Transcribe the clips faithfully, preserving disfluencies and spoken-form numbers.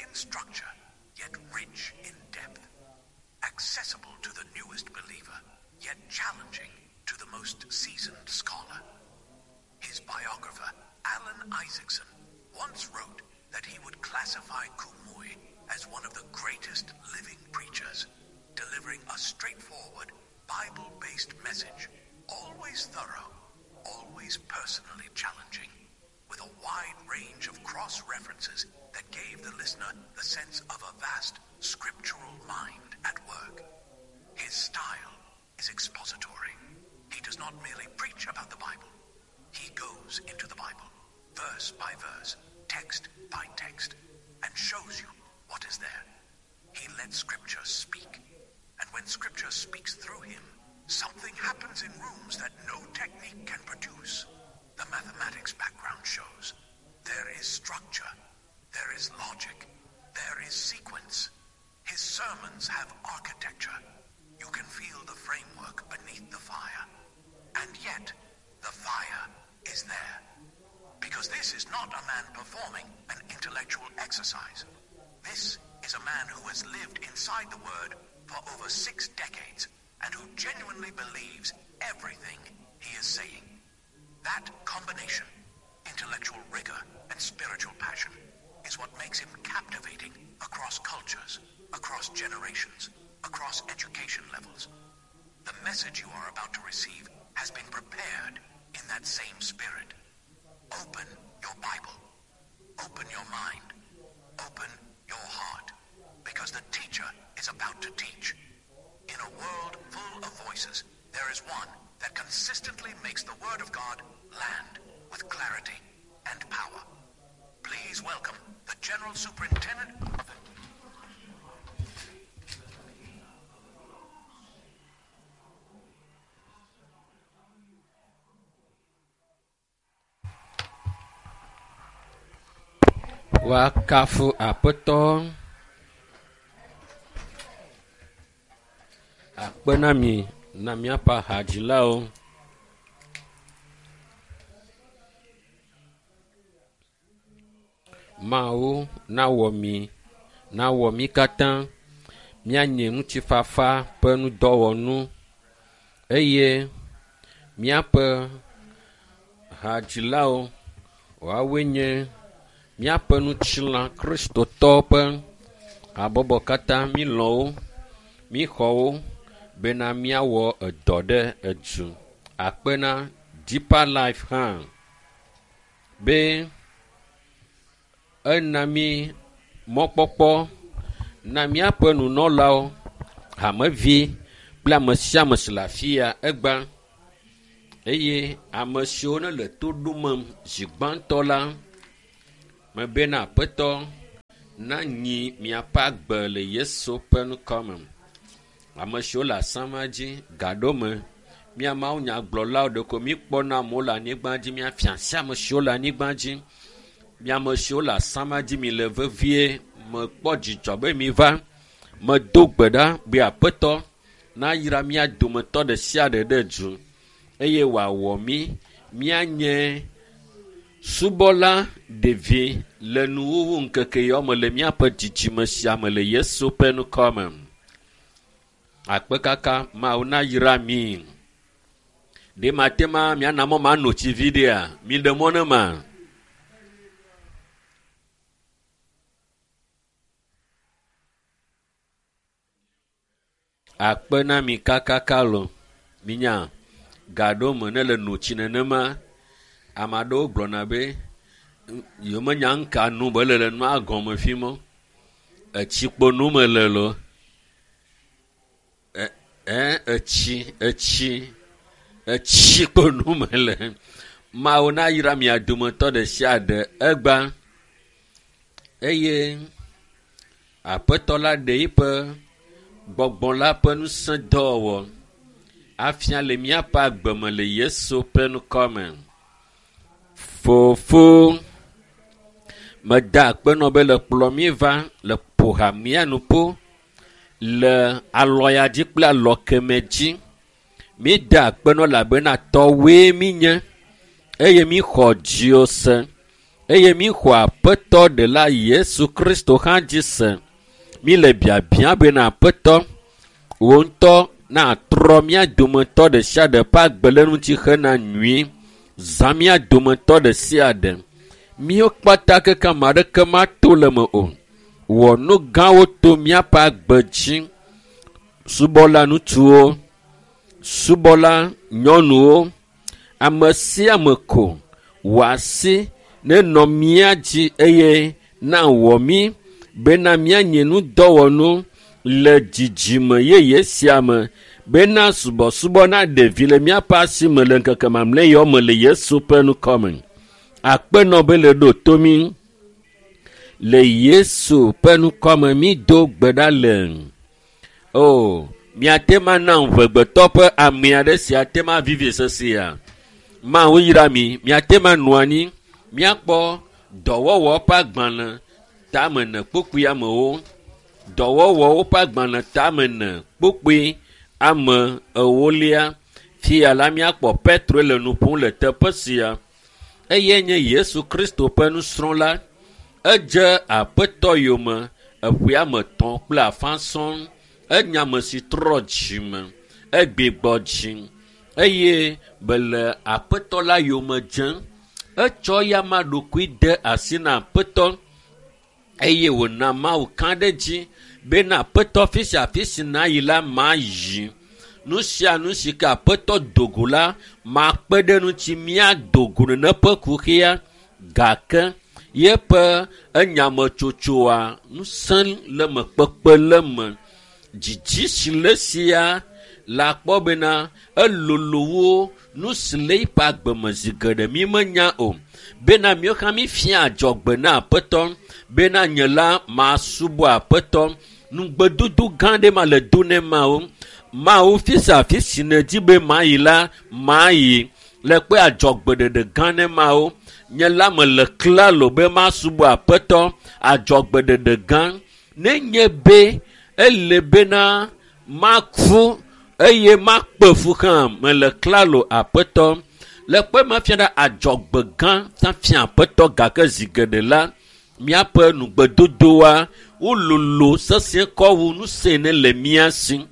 in structure, yet rich in depth, accessible to the newest believer, yet challenging to the most seasoned scholar. His biographer, Alan Isaacson, once wrote that he would classify Kumuyi as one of the greatest living preachers, delivering a straightforward, Bible based message, always thorough, always personally challenging, with a wide range of cross references that gave the listener the sense of a vast scriptural mind at work. His style is expository. He does not merely preach about the Bible, he goes into the Bible, verse by verse, text by text, and shows you what is there. He lets Scripture speak. And when Scripture speaks through him, something happens in rooms that no technique can produce. The mathematics background shows there is structure, there is logic, there is sequence. His sermons have architecture. You can feel the framework beneath the fire. And yet, the fire is there. Because this is not a man performing an intellectual exercise. This is a man who has lived inside the Word for over six decades and who genuinely believes everything he is saying. That combination, intellectual rigor and spiritual passion, is what makes him captivating across cultures, across generations, across education levels. The message you are about to receive has been prepared in that same spirit. Open your Bible. Open your mind. Open your heart. Because the teacher is about to teach. In a world full of voices, there is one that consistently makes the Word of God land with clarity and power. Please welcome the General Superintendent of the Woakafu Aƒetɔ. Akpe na mi na míaƒe hadzilawo. Mawu nawɔ mi, nawɔ mí katã míanye ŋutifafa ƒe ŋudɔwɔnu eye míaƒe hadzilawo woawoe nye míaƒe ŋutilã kristotɔwo ƒe habɔbɔ katã mílɔ̃ wo, míxɔ wo bena míawɔ edɔ ɖe edu. Akpe na Deeper Life hã be ena mí mɔkpɔkpɔ na míaƒe nunɔlawo, hamevi kple ame sia ame si le afi ya egbea eye ame siwo ne le to ɖomem zi gbãtɔ la, mebena Aƒetɔ nanyi miaƒe agbe le Yesu ƒe ŋkɔ me. Ame siwo le asama dzi gaɖome mía mawunyagblɔlawo ɖeko míkpɔna amewo le anyigba dzi míafia asi ame siwo le anyigba dzi. Mi ame siwo le asama dzi mi le vevie mekpɔ dzidzɔ be miva. Medo gbe ɖa be Aƒetɔ nayra mía dometɔ ɖe sia ɖe ɖe du eye wòawɔ mí míanye subɔla ɖevi le nuwuwu ŋkeke yawo me le míaƒe dzidzime sia me le Yesu ƒe ŋkɔ me. Akpe kaka Mawu nayra mi. Ɖe mate ma miana mɔ mano tsi vi ɖea? Miɖe mɔ ne ma. Akpe na mi kakaka lo. Minya gaɖewo me ne le no tsi nenema, ame aɖewo gblɔna be yewomenya nu ka nom be le le nua gɔme fi mɔ. Etsi kpo nom mele loo. E e etsi etsi etsi kpo nom mele. Mawu nayra mia dometɔ ɖe sia ɖe egbea eye Aƒetɔ la ɖe eƒe gbɔgbɔ la ƒe ŋusẽ dɔwɔwɔ afia le míaƒe agbe me le Yesu ƒe ŋkɔ me. Fofo, meda akpe nɔ be le kplɔ mí va le ƒo ha mía nu ƒo le alɔ ya dzi kple alɔ keme dzi. Míeda akpe nɔ elabena tɔwoe mínye eye míxɔ dziwò se. Eye mi xɔ Aƒetɔ ɖela Yesu Kristo hã dzi se. Mi le biabia bena Aƒetɔ, wò ŋutɔ natrɔ mía dometɔ ɖe sia ɖe ƒe agbe le ŋuti hena nyui. Zã mía dometɔ ɖe sia ɖe. Míwo kpata keke ame aɖeke mato le me o. Wɔ nu gãwo to míaƒe agbe dzi. Subɔla ŋutsuwo, subɔla nyɔnuwo, ame sia ame ko wɔ asi nenɔ mía dzi eye nawɔ mí bena míanye nudɔwɔnu le dzidzime yeye sia me bena subɔsubɔ naɖe vi le míaƒe asi me le ŋkeke mamlɛ yawo me le Yesu ƒe ŋkɔ me. Akpenɔ be le ɖo to mí. Le Yesu ƒe ŋkɔ me mi do gbe ɖa le. O, miate ma na ʋegbetɔ ƒe ame aɖe si ate ma vivi sesia. Mawu yra mi, miate ma nɔ anyi, miakpɔ dɔwɔwɔ ƒe agbalẽ tame ne kpukpui amewo. Dɔwɔwɔwo ƒe agbalẽ tame ne kpukpui ame ewolia. Fia la miakpɔ Petro le nu ƒom le teƒe sia. Eye nye Yesu Kristo ƒe nusrɔ̃la. Edze Aƒetɔ yome eƒe ame etɔ̃ kple afã sɔŋ. Enye ame si trɔ dzime, egbigbɔ dzi eye bele Aƒetɔ la yome dzem. Etsɔ eya ɖokui de asi na Aƒetɔ eye wòna Mawu ka ɖe edzi bena Aƒetɔ fi sia fi si nayi la mayi. Nu sia nu si ke Aƒetɔ do go la makpe ɖe ŋuti míado go nene ƒe kuxia gake yeƒe enyametsotsoa ŋusẽ le me kpekpe le me. Dzidzi si le sia la kpɔ bena elolo wo nu si le eƒe agbe me zi geɖe mi menya o. Bena míawo hã mífia adzɔgbe na Aƒetɔ bena nye la masubɔ Aƒetɔ. Nugbedodo gã ɖe ma le do ne Mawu. Mawu fi sia fi si nèdi be mayi la mayi. Le kpe adzɔgbeɖeɖe gã ne Mawu. Nye la mele klalo be masubɔ Aƒetɔ adzɔgbeɖeɖe gã. Nenye be ele bena maku eye makpe fu hã mele klalo Aƒetɔ. Le kpe ma fia ɖe adzɔgbe gã fia Aƒetɔ gake zi geɖe la míaƒe nugbedodoa wololo sesẽ kɔ wu ŋusẽ ne le mía si.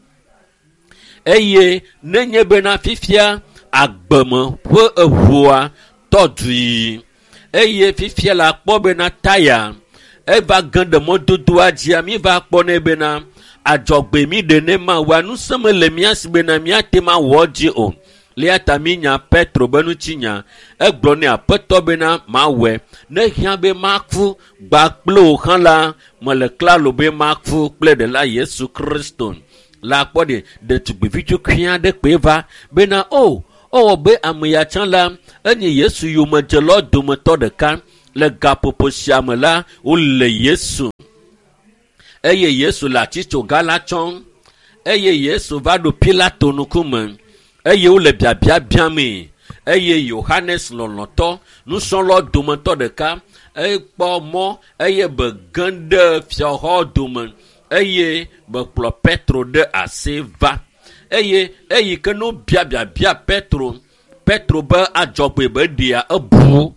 Eye nenye bena fifia agbeme ƒe eʋua tɔ du yiyi eye fifia la kpɔ bena taya eva ge ɖe mɔdodoa dzia mi va kpɔnɛ bena adzɔgbe mi ɖe ne Mawua ŋusẽ mele mía si bena míate ma wɔ dzi o. Eya ta mi nya Petro be ŋutinya. Egblɔ nɛ Aƒetɔ bena mawɔe. Ne hiã be maku gba kple wò hã la mele klalo be maku kple ɖela Yesu Kristo. La kpɔ ɖe ɖetugbivi tsukui aɖe kpe va bena o ewɔ be ame ya tsã la enye Yesu yomedzelawo dometɔ ɖeka. Le gaƒoƒo sia me la wole Yesu eye Yesu le atitsoga la tsɔm eye Yesu va ɖo Pilato ŋkume eye wole biabia biamee eye Yohanes lɔlɔ̃tɔ nusrɔ̃lawo dometɔ ɖeka ekpɔ mɔ eye be ge ɖe fiaxɔ dome eye be kplɔ Petro ɖe asi va eye eyi ke no bia biabia Petro Petro be adzɔgbe be ɖea ebu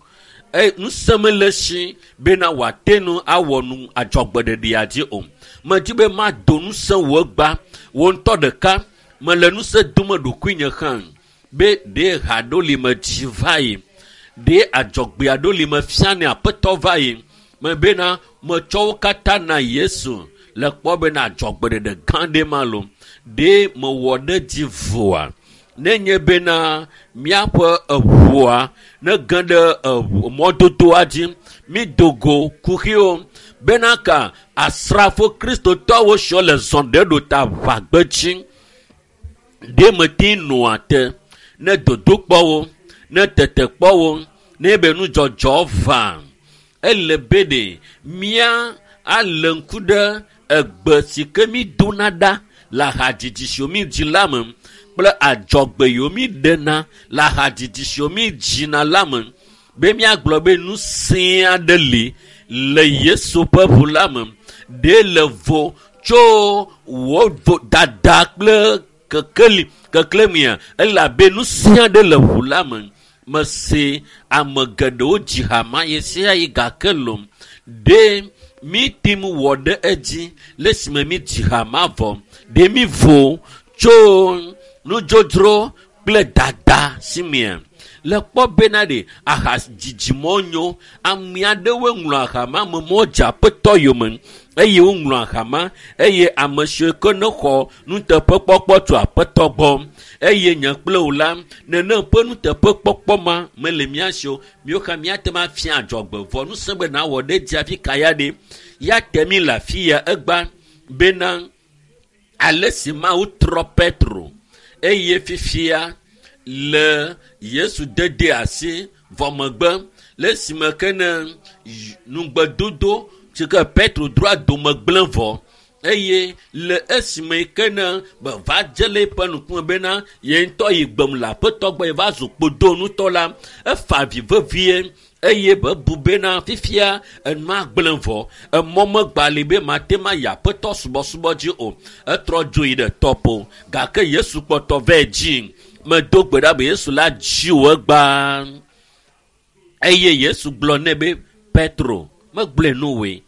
e ŋusẽ mele si bena wòate nu awɔ nu adzɔgbeɖeɖea dzi o. Medi be mado ŋusẽ wò egba wò ŋutɔ ɖeka mele ŋusẽ dome ɖokuinye hã be ɖe ha ɖo li me dzi va yi ɖe adzɔgbea ɖo li me fia ne Aƒetɔ va yi me bena metsɔ wo katã na Yesu le kpɔ bena adzɔgbeɖeɖe gã ɖe ma lo ɖe mewɔ ɖe dzi voa nenye bena míaƒe eʋua ne ge ɖe eʋu mɔdodoa dzi mi do go kuxiwo bena ka asrafo kristotɔwo siwo le zɔ ɖe ɖo ta ʋagbedzi ɖe mete nɔa te ne dodokpɔwo ne tetekpɔwo ne be nudzɔdzɔ va ele be ɖe mía alé ŋku ɖe egbe si ke mi dona ɖa le ahadzidzi siwo mi dzi la me kple adzɔgbe yiwo mi ɖena le ahadzidzi siwo mi dzina la me be míagblɔ be ŋusẽ aɖe li le Yesu ƒe ʋu la me ɖe le vo tso wò vodada kple kekeli keklẽmea elabe ŋusẽ aɖe le ʋu la me. Mese ame geɖewo dzi ha ma ɣe sia ɣi gake lom. Ɖe mi tim wɔ ɖe edzi le esime mi dzi ha ma vɔ. Ɖe mi vo tso nudzodzro kple dada si mea. Le kpɔ bena ɖe aha dzidzimɔ nyo. Ame aɖewoe ŋlɔ aha ma ame mɔ dze aƒetɔ yome eye woŋlɔ aha ma eye ame siwo ke ne xɔ nuteƒekpɔkpɔ tso aƒetɔ gbɔ eye nye kple wò la nenem ƒe nuteƒekpɔkpɔ ma mele mía si o. Míwo hã míate ŋu afia adzɔgbe vɔ ŋusẽ be nawɔ ɖe edzi hafi ka ya ɖe ya te mí le afi ya egba bena ale si Mawu trɔ Petro eye fifia le Yesu dede asi vɔ megbe le esime ke ne nugbedodo si ke Petro droa dome gblẽ vɔ eye le esime ke ne beva dze le eƒe ŋkume bena ye ŋutɔ yi gbem le aƒetɔ gbɔ ye va zu kpodonutɔ la efa avi vevie eye bebu bena fifia enua gblẽ vɔ emɔ megba li be mate ma yi aƒetɔ subɔsubɔ dzi o etrɔ dzo yi ɖe tɔƒo gake Yesu kpɔtɔ vɛ dzi medo gbe ɖa be Yesu la dzi wò egbea eye Yesu gblɔ nɛ be Petro megblɔe nu woe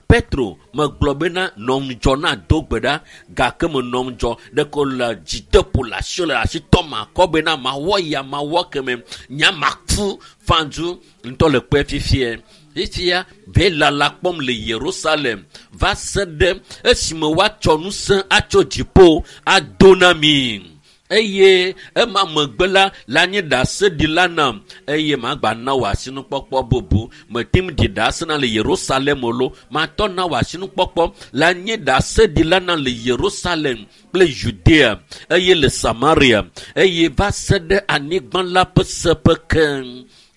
Petro megblɔ bena nɔ ŋudzɔ na do gbe ɖa gake menɔ ŋudzɔ ɖeko le dzideƒo le asi le asi tɔm akɔ bena mawɔ ya mawɔ keme nya maku fãdzu ŋutɔ le kpɔe fifie fifia ve lala kpɔm le Yerusalem va se ɖe esime woatsɔ ŋusẽ atso dziƒo ado na mi. Eye ema megbe la la nye ɖaseɖila nam eye magba na wò asinukpɔkpɔ bubu metim ɖi ɖase na le Yerusalem o lo matɔ na wò asinukpɔkpɔ la nye ɖaseɖila na le Yerusalem kple Judea eye le Samaria eye va se ɖe anyigba la ƒe seƒe ke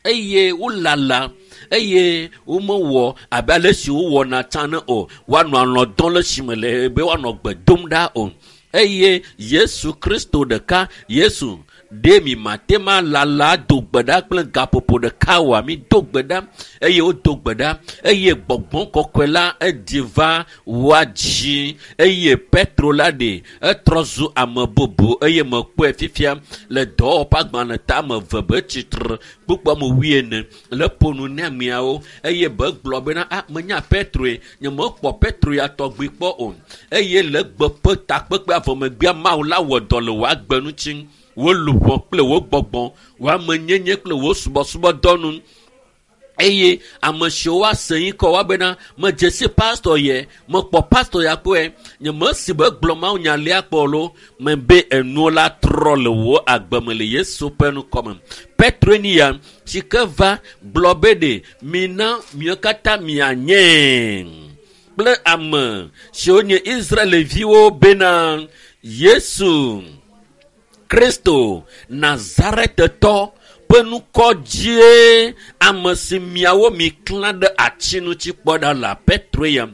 eye wolala eye womewɔ abe ale si wowɔna tsã ne o woanɔ alɔ̃ dɔm le esime le be woanɔ gbe dom ɖa o eye Yesu Kristo ɖeka Yesu ɖe mi mate ma lala do gbe ɖa kple gaƒoƒo ɖeka oa mi do gbe ɖa eye wodo gbe ɖa eye gbɔgbɔ kɔkɔe la eɖi va woa dzi eye Petro la ɖe etrɔ zu ame bubu eye mekpɔe fifia le dɔwɔƒe agbalẽ tame eve be tsitre kpukpɔ ame wuiene le ƒo nu ne ameawo eye be gblɔ bena a menya Petroe nye mekpɔ Petro ya tɔgbi kpɔ o eye le gbe ƒe takpekpe avɔ megbea Mawu la wɔ dɔ le wò agbe ŋuti wò luʋɔ kple wò gbɔgbɔ wò amenyenye kple wò subɔsubɔdɔnu eye ame siwo woase yi kɔ woabena medze si pastor yɛ mekpɔ pastor ya kpɔe nye mesi be gblɔ Mawu nya lia kpɔ lo mebe enuwo la trɔ le wò agbe me le Yesu ƒe ŋkɔme. Petro ni ya si ke va gblɔ be ɖe mina miwo katã mianye kple ame siwo nye Israelviwo bena Yesu Kristo Nazaretetɔ ƒe ŋkɔ dzie ame si miawo mi klã ɖe ati ŋuti kpɔ ɖa le Petro ya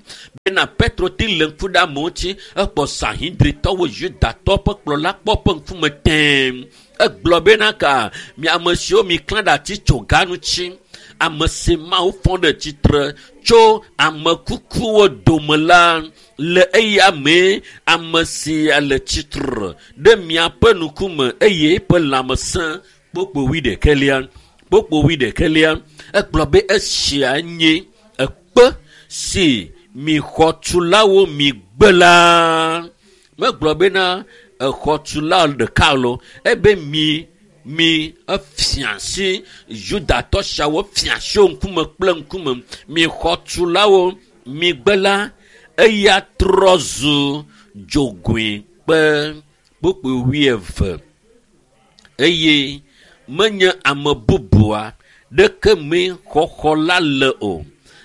bena Petro ti le ŋku ɖe amewo ŋuti ekpɔ Sanhedritɔwo Yudatɔwo ƒe kplɔla kpɔ ƒe ŋkume tẽe egblɔ bena ka mi ame siwo mi klã ɖe ati tso ga ŋuti ame si Mawu fɔ ɖe tsitre tso ame kukuwo dome la le eya mee ame sia le tsitre ɖe miaƒe ŋkume eye eƒe lãmesẽ kpokpo wuiɖekɛlia kpokpo wuiɖekɛlia egblɔ be esia nye ekpe si mi xɔtulawo mi gbe la megblɔ bena exɔtula ɖeka lo ebe mi mi efia si Yudatɔ siawo fia si wo ŋkume kple ŋkume mi xɔtulawo mi gbe la eya trɔ zu dzogoe kpe kpokpo wuieve eye menye ame bubua ɖeke mee xɔxɔ la le o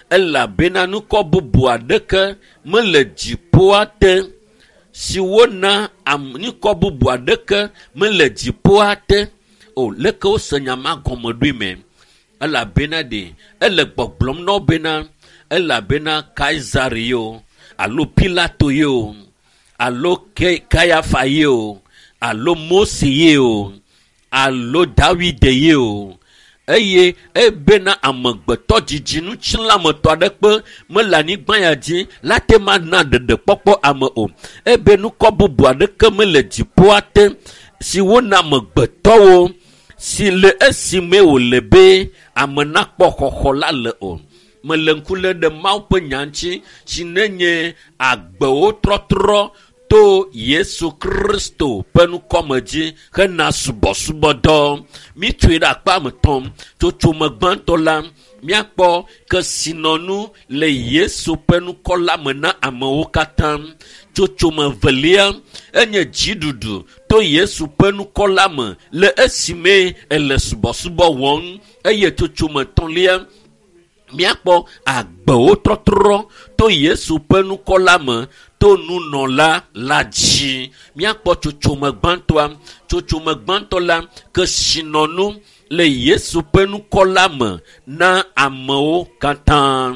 elabena ŋkɔ bubua ɖeke mele dziƒoa te si wona am ŋkɔ bubua ɖeke mele dziƒoa te o leke wose nya ma gɔme ɖoe me elabena ɖe ele gbɔgblɔm na wo bena elabena Kaisar ye o alo Pilato ye o alo Kayafa ye o alo Mose ye o alo Davide ye o eye ebena amegbetɔ dzidzi ŋutilãmetɔ aɖeke mele anyigba ya dzi la te ma na ɖeɖekpɔkpɔ ame o ebe ŋkɔ bubu aɖeke mele dziƒoa te si wona amegbetɔwo si le esime wòle be ame nakpɔ xɔxɔ la le o. Mele ŋku lé ɖe Mawu ƒe nya ŋuti si nenye agbewo trɔtrɔ to Yesu Kristo ƒe ŋkɔme dzi hena subɔsubɔdɔ. Mitsɔe ɖe akpa me tɔm. Tsotsome gbãtɔ la, míakpɔ kesinɔnu le Yesu ƒe ŋkɔ la me na amewo katã. Tsotsome velia enye dziɖuɖu to Yesu ƒe ŋkɔ la me le esime ele subɔsubɔ wɔm. Eye tsotsome etɔ̃lia, míakpɔ agbewo trɔtrɔ to Yesu ƒe ŋkɔ la me to nunɔla la dzi. Míakpɔ tsotsome gbãtɔa. Tsotsome gbãtɔ la, kesinɔnu le Yesu ƒe ŋkɔ la me na amewo katã.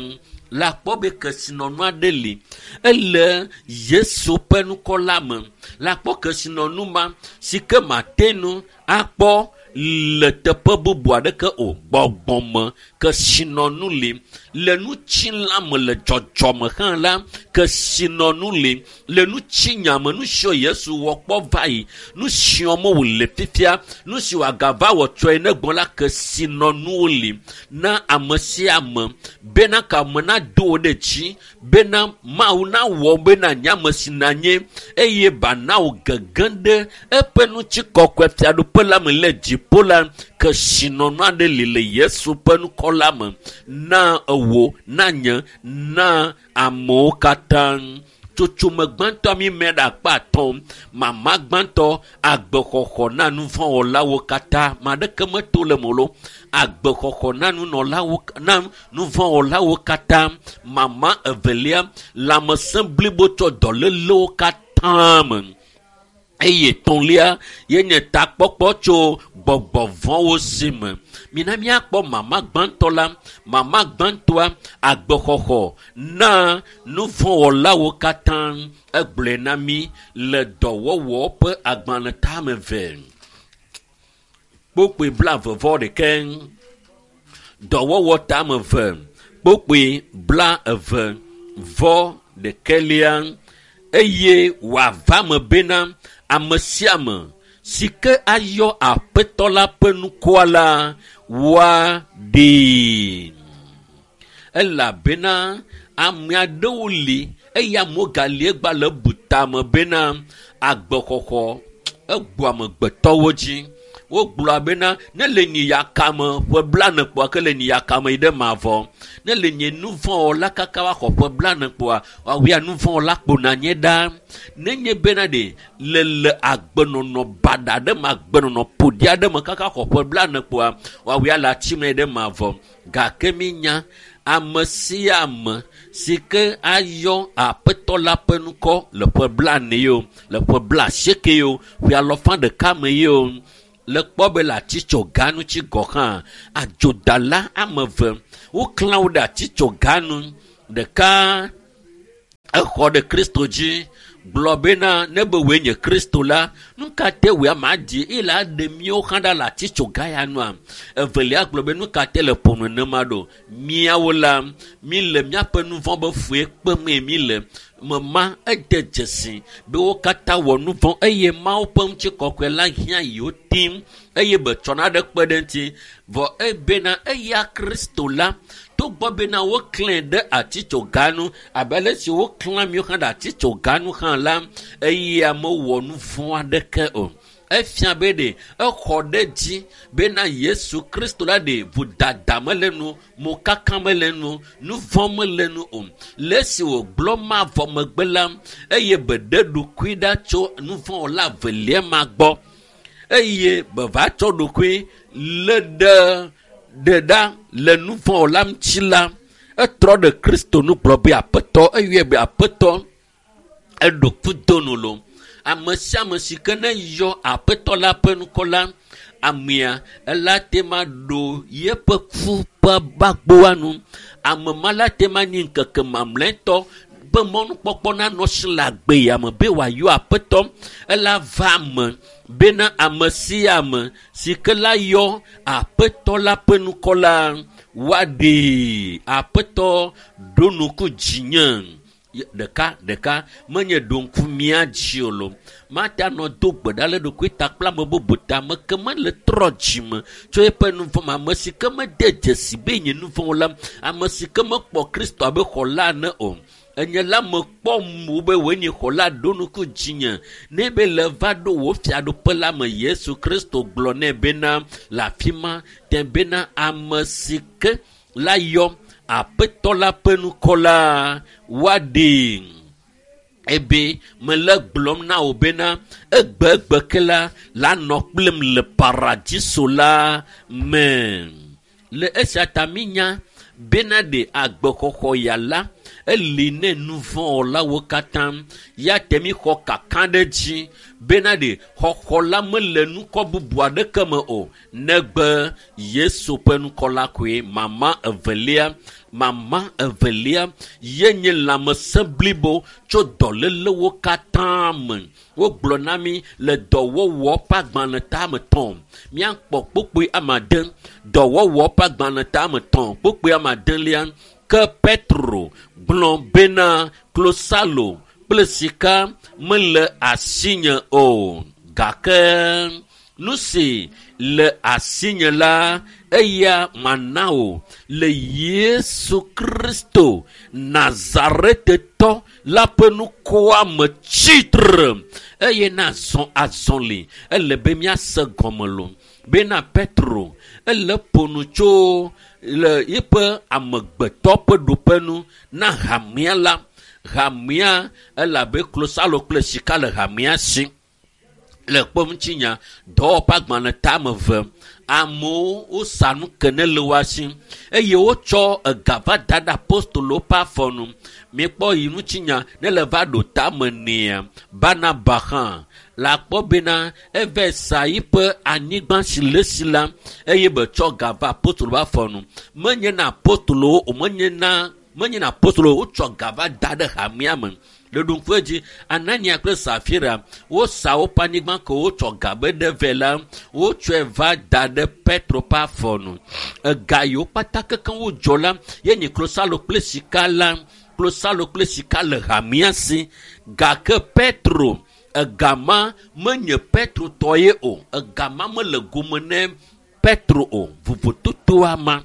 Le akpɔ be kesinɔnu aɖe li, ele Yesu ƒe ŋkɔ la me. Le akpɔ kesinɔnu ma si ke mate ŋu akpɔ le teƒe bubu aɖeke o. Gbɔgbɔme kesinɔnu li. Le ŋutilã me le dzɔdzɔme hã la, kesinɔnu li. Le ŋutinya me, nu siwo Yesu wɔ kpɔ va yi, nu siwo me wòle fifia, nu si wòagava wɔ tsɔe ne gbɔ la, kesinɔnuwo li na ame sia ame bena kame nado wo ɖe dzi, bena Mawu nawɔ bena nye ame si nanye eye bana wò gege ɖe eƒe ŋutikɔkɔe fiaɖuƒe la me le dziƒo la. Kesinɔnu aɖe li le Yesu ƒe ŋkɔ la me na ewo, na nye, na amewo katã. Tsotsome gbãtɔ mi me ɖe akpa atɔ̃. Mama gbãtɔ, agbexɔxɔ na nuvɔ̃wɔlawo katã. Ame aɖeke meto le me o. Agbexɔxɔ na nunɔlawo, na nuvɔ̃wɔlawo katã. Mama evelia, lãmesẽ blibo tsɔ dɔlélewo katã me. Eye etɔ̃lia ye nye takpɔkpɔ tso gbɔgbɔ vɔ̃wo si me. Mina míakpɔ mama gbãtɔ la. Mama gbãtɔa, agbexɔxɔ na nuvɔ̃wɔlawo katã. Egblɔe na mí le dɔwɔwɔ ƒe agbalẽ tame eve. Kpokpoe blaeve vɔ ɖeke. Dɔwɔwɔ tame eve. Kpokpoe blaeve vɔ ɖekelia. Eye wòava me bena ame sia ame si ke ayɔ Aƒetɔ la ƒe ŋkɔa la, woaɖee. Elabena ame aɖewo li eye amewo gali egba le bu tame bena agbexɔxɔ egbɔ amegbetɔwo dzi. Wogblɔa bena ne le nye yakame ƒe blaene kpoa ke le nye yakame yi ɖe mavɔ. Ne le nye nuvɔ̃wɔla kaka woaxɔ ƒe blaene kpoa, woawia nuvɔ̃wɔla kpona nye ɖa. Nenye bena ɖe le le agbenɔnɔ baɖa ɖe me, agbenɔnɔ ƒoɖi aɖe me kaka xɔ ƒe blaene kpoa, woawia le atsi me ɖe mavɔ. Gake mínya ame sia ame si ke ayɔ Aƒetɔ la ƒe ŋkɔ le ƒe blaene ye o, le ƒe blaasieke ye o, ƒe alafa ɖeka me ye o, le kpɔ be le atitsoga ŋuti gɔ̃ hã, adzodala ame eve woklã wo ɖe atitsoga nu. Ɖeka exɔ ɖe Kristo dzi gblɔ bena ne be wòe nye Kristo la, nu ka te wòe ame adi eye la ɖe míawo hã ɖa le atitsoga ya nua? Evelia gblɔ be nu ka te le ƒo nenema ɖo? Míawo la, mí le míaƒe nu vɔ̃ be fue kpemee mí le. Mema ede dzesi be wo katã wɔ nu vɔ̃ eye Mawu ƒe ŋutikɔkɔe la hiã yewo tim eye be tsɔna ɖe kpe ɖe eŋuti. Vɔ ebena eya Kristo la, togbɔ bena woklãe ɖe atitsoga nu abe ale si woklã míawo hã ɖe atitsoga nu hã la, eya mewɔ nu vɔ̃ aɖeke o. Efia be ɖe exɔ ɖe dzi bena Yesu Kristo la ɖe vodada mele nu, mokaka mele nu, nu vɔ̃ mele nu o. Le esi wògblɔ ma vɔ megbe la, eye be ɖe ɖokui ɖa tso nu vɔ̃wɔla evelia ma gbɔ eye be va tsɔ ɖokui lé ɖe ɖe ɖa le nu vɔ̃wɔla ŋuti la, etrɔ ɖe Kristo nu gblɔ be Aƒetɔ, eyɔe be Aƒetɔ, eɖo kudo nu lo. Ame sia ame si ke ne yɔ Aƒetɔ la ƒe ŋkɔ la, amea ela te ma ɖo yeƒe ku ƒe gbagboa nu. Ame ma la te ma nyi ŋkeke mamlɛtɔ be mɔnukpɔkpɔ nanɔ si le agbe ya me be wòayɔ Aƒetɔ. Ela va eme bena ame sia ame si ke la yɔ Aƒetɔ la ƒe ŋkɔ la, woaɖee. Aƒetɔ ɖo ŋku dzinye. Ɖeka ɖeka menye ɖo ŋku mía dzi o lo. Mate anɔ do gbe ɖa le ɖokui ta kple ame bubu ta. Ame ke mele trɔ dzime tso eƒe nu vɔ̃ me. Ame si ke mede dzesi be nye nu vɔ̃ o la, ame si ke mekpɔ Kristo abe xɔla ene o. Enye la mekpɔ mo be wòe nye xɔla ɖo ŋku dzinye. Ne be le va ɖo wò fiaɖuƒe la me, Yesu Kristo gblɔ nɛ bena le afi ma te bena ame si ke la yɔ Aƒetɔ la ƒe ŋkɔ la woaɖee. Ebe mele gblɔm na wò bena egbegbe ke la la nɔ kplim le paradiso la me. Le esia ta minya bena ɖe agbexɔxɔ ya la eli ne nu vɔ̃wɔlawo katã. Ya te mi xɔ kaka ɖe dzi bena ɖe xɔxɔ la mele nukɔ bubu aɖeke me o negbe Yesu ƒe ŋkɔ la koe. Mama evelia, mama evelia ye nye lãmesẽ blibo tso dɔlélewo katã me. Wogblɔ na mi le dɔwɔwɔ ƒe agbalẽ tame tɔ̃. Míakpɔ kpukpui ame ade. Dɔwɔwɔ ƒe agbalẽ tame tɔ̃ kpukpui ame adelia. Ke Petro gblɔ bena klosalo kple sika mele asinye o, gake nu si le asinye la eya mana wò le Yesu Kristo Nazaretetɔ la ƒe ŋkɔa me tsitre eye nazɔ azɔli. Ele be míase gɔme lo bena Petro ele ƒo nu tso le eƒe amegbetɔ ƒe ɖoƒe nu na hamea la. Hamea elabe klosalo kple sika le hamea si. Le kpɔŋutinya dɔwɔƒe agbalẽ tame eve, amewo wosa nu ke ne le woa si eye wotsɔ ega va da ɖe apostolowo ƒe afɔ nu. Miekpɔ yi ŋutinya ne le va ɖo tame nea, Barnaba hã la kpɔ bena eve sa yiƒe anyigba si le esi la eye be tsɔ ga va apostolo ƒe afɔ nu. Menye na apostolowo o, menye na menye na apostolowo, wotsɔ ga va da ɖe hamea me. Le ɖoŋkue dzi, Anania kple Safira wosa woƒe anyigba ke wotsɔ ga be ɖe vɛ la, wotsɔe va da ɖe Petro ƒe afɔ nu. Ega yiwo kpata kekeŋ wodzɔ la, ye nye klosalo kple sika la. Klosalo kple sika le hamea si. Gake Petro, ega ma menye Petro tɔ ye o. Ega ma mele gome ne Petro o. Vovototoa ma.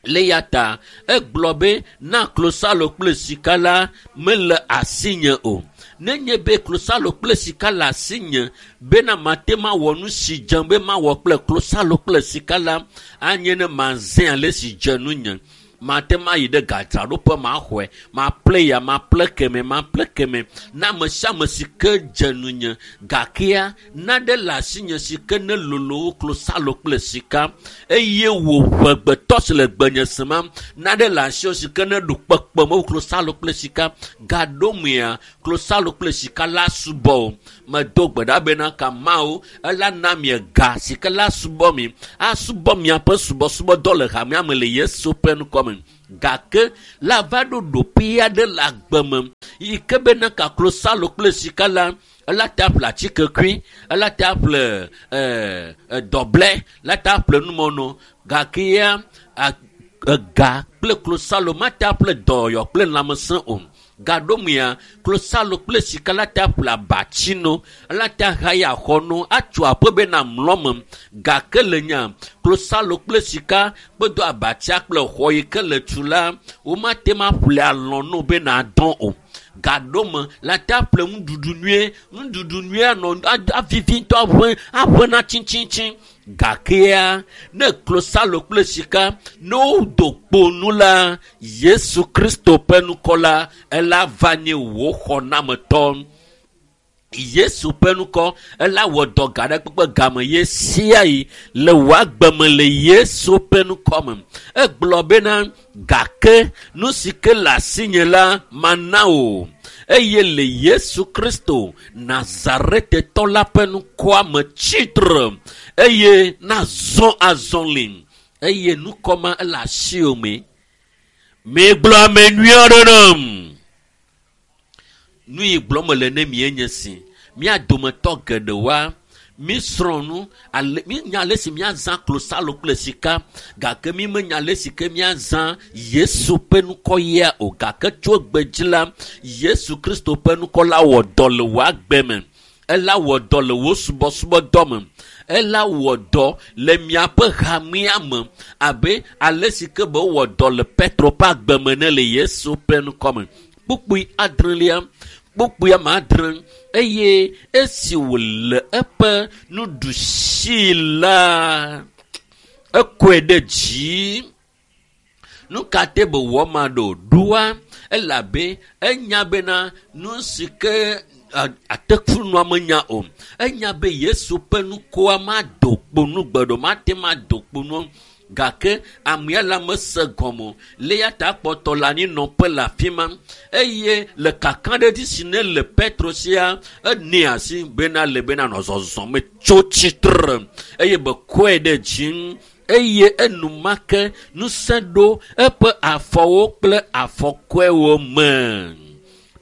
Le ya ta egblɔ be na klosalo kple sika la mele asinye o. Nenye be klosalo kple sika le asinye bena mate mawɔ nu si dze be mawɔ kple klosalo kple sika la, anye ne mazẽ ale si dze nunye. Mate mayi ɖe gadzraɖoƒe maxɔe, maƒle ya, maƒle keme, maƒle keme na ame sia ame si ke dze nunye. Gakea naɖe le asinye si ke ne lolo wu klosalo kple sika eye wò ʋegbetɔ si le gbenye sema naɖe le asiwò si ke ne ɖu kpekpeme wu klosalo kple sika. Gaɖomea klosalo kple sika la subɔ o. Medo gbe ɖa bena ka Mawu ela na mi ga si ke la subɔ mi, asubɔ miaƒe subɔsubɔdɔ le hamea me le Yesu ƒe ŋkɔ me. Gake la va ɖo ɖoƒe aɖe le agbe me yi ke bena ka klosalo kple sika la, ela te aƒle atikekui, ela te aƒle, eh, dɔblɛ, la te aƒle numɔno. Gake ya, a, ega kple klosalo mate aƒle dɔyɔ kple lãmesẽ o. Gaɖomea, klosalo kple sika la te aƒle abatsino, la te ahaya xɔno, atso aƒe bena mlɔ me. Gake le nya, klosalo kple sika kpedo abatsia kple xɔ yi ke le tu la, womate ma ƒle alɔ̃ no bena dɔn o. Gaɖome la te aƒle nuɖuɖu nyuie, nuɖuɖu nyuie anɔ avivi ŋutɔ aʋe, aʋe na tsitsitsi. Gakea, ne klosalo kple sika ne wodo kpo nu la, Yesu Kristo ƒe ŋkɔ la, ela va nye wò xɔnametɔ. Yesu ƒe ŋkɔ ela wɔ dɔ ga ɖe kpekpe game ye sia yi le wò agbe me le Yesu ƒe ŋkɔ me. Egblɔ bena gake nu si ke le asinye la mana wò eye le Yesu Kristo Nazaretetɔ la ƒe ŋkɔa me tsitre eye nazɔ azɔli eye ŋkɔ ma ele asiwò me. Megblɔ ame nyui aɖe nam. Nu yi gblɔm mele ne mie nye si. Mía dometɔ geɖewoa, Mi srɔ̃ nu ale mi nya ale si miazã klosalo kple sika gake mi menya ale si ke miazã Yesu ƒe ŋkɔ ya o gake tso gbedzi la Yesu Kristo ƒe ŋkɔ la wɔ dɔ le wò agbe me. Ela wɔ dɔ le wò subɔsubɔdɔ me. Ela wɔ dɔ le miaƒe hamea me abe ale si ke be wɔ dɔ le Petro ƒe agbe me ne le Yesu ƒe ŋkɔ me. Kpukpui adrelia kpukpui ame adre eye esi wòle eƒe nuɖusi la ekɔe ɖe dzi. Nu ka te be wɔ ma ɖo ɖoa elabe enya bena nu si ke atekunua menya o. Enya be Yesu ƒe ŋkɔa mado kpo nu gbe ɖo mate mado kpo nu gake amea la mese gɔme o. Le ya ta kpɔtɔ le anyinɔƒe le afi ma eye le kakaɖedzi si ne le Petro sia ene asi bena le bena nɔ zɔzɔm tso tsitre eye be kɔe ɖe dzi eye enumake ŋusẽ ɖo eƒe afɔwo kple afɔkɔewo me.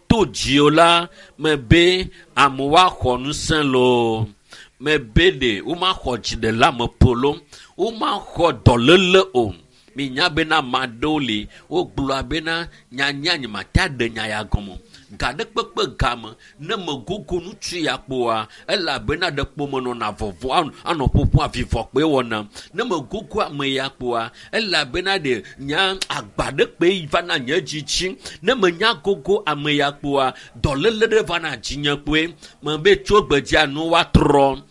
To dzio la mebe amewo axɔ ŋusẽ loo mebe ɖe womaxɔ dziɖeleameƒo loo womaxɔ dɔléle o. Minya bena ame aɖewo li wogblɔa bena nyanya nye mate aɖe nya ya gɔme o. Ga ɖe kpekpe game ne megogo ŋutsu ya kpoa elabena ɖe kpo menɔna vɔvɔ anɔ ƒoƒo avivɔ kpoe wɔna. Ne megogo ame ya kpoa elabena ɖe nya agba ɖe kpoe vana nye dzi dzi. Ne menya gogo ame ya kpoa dɔléle ɖe vana dzinye kpoe mebe tso gbedzia nu woatrɔ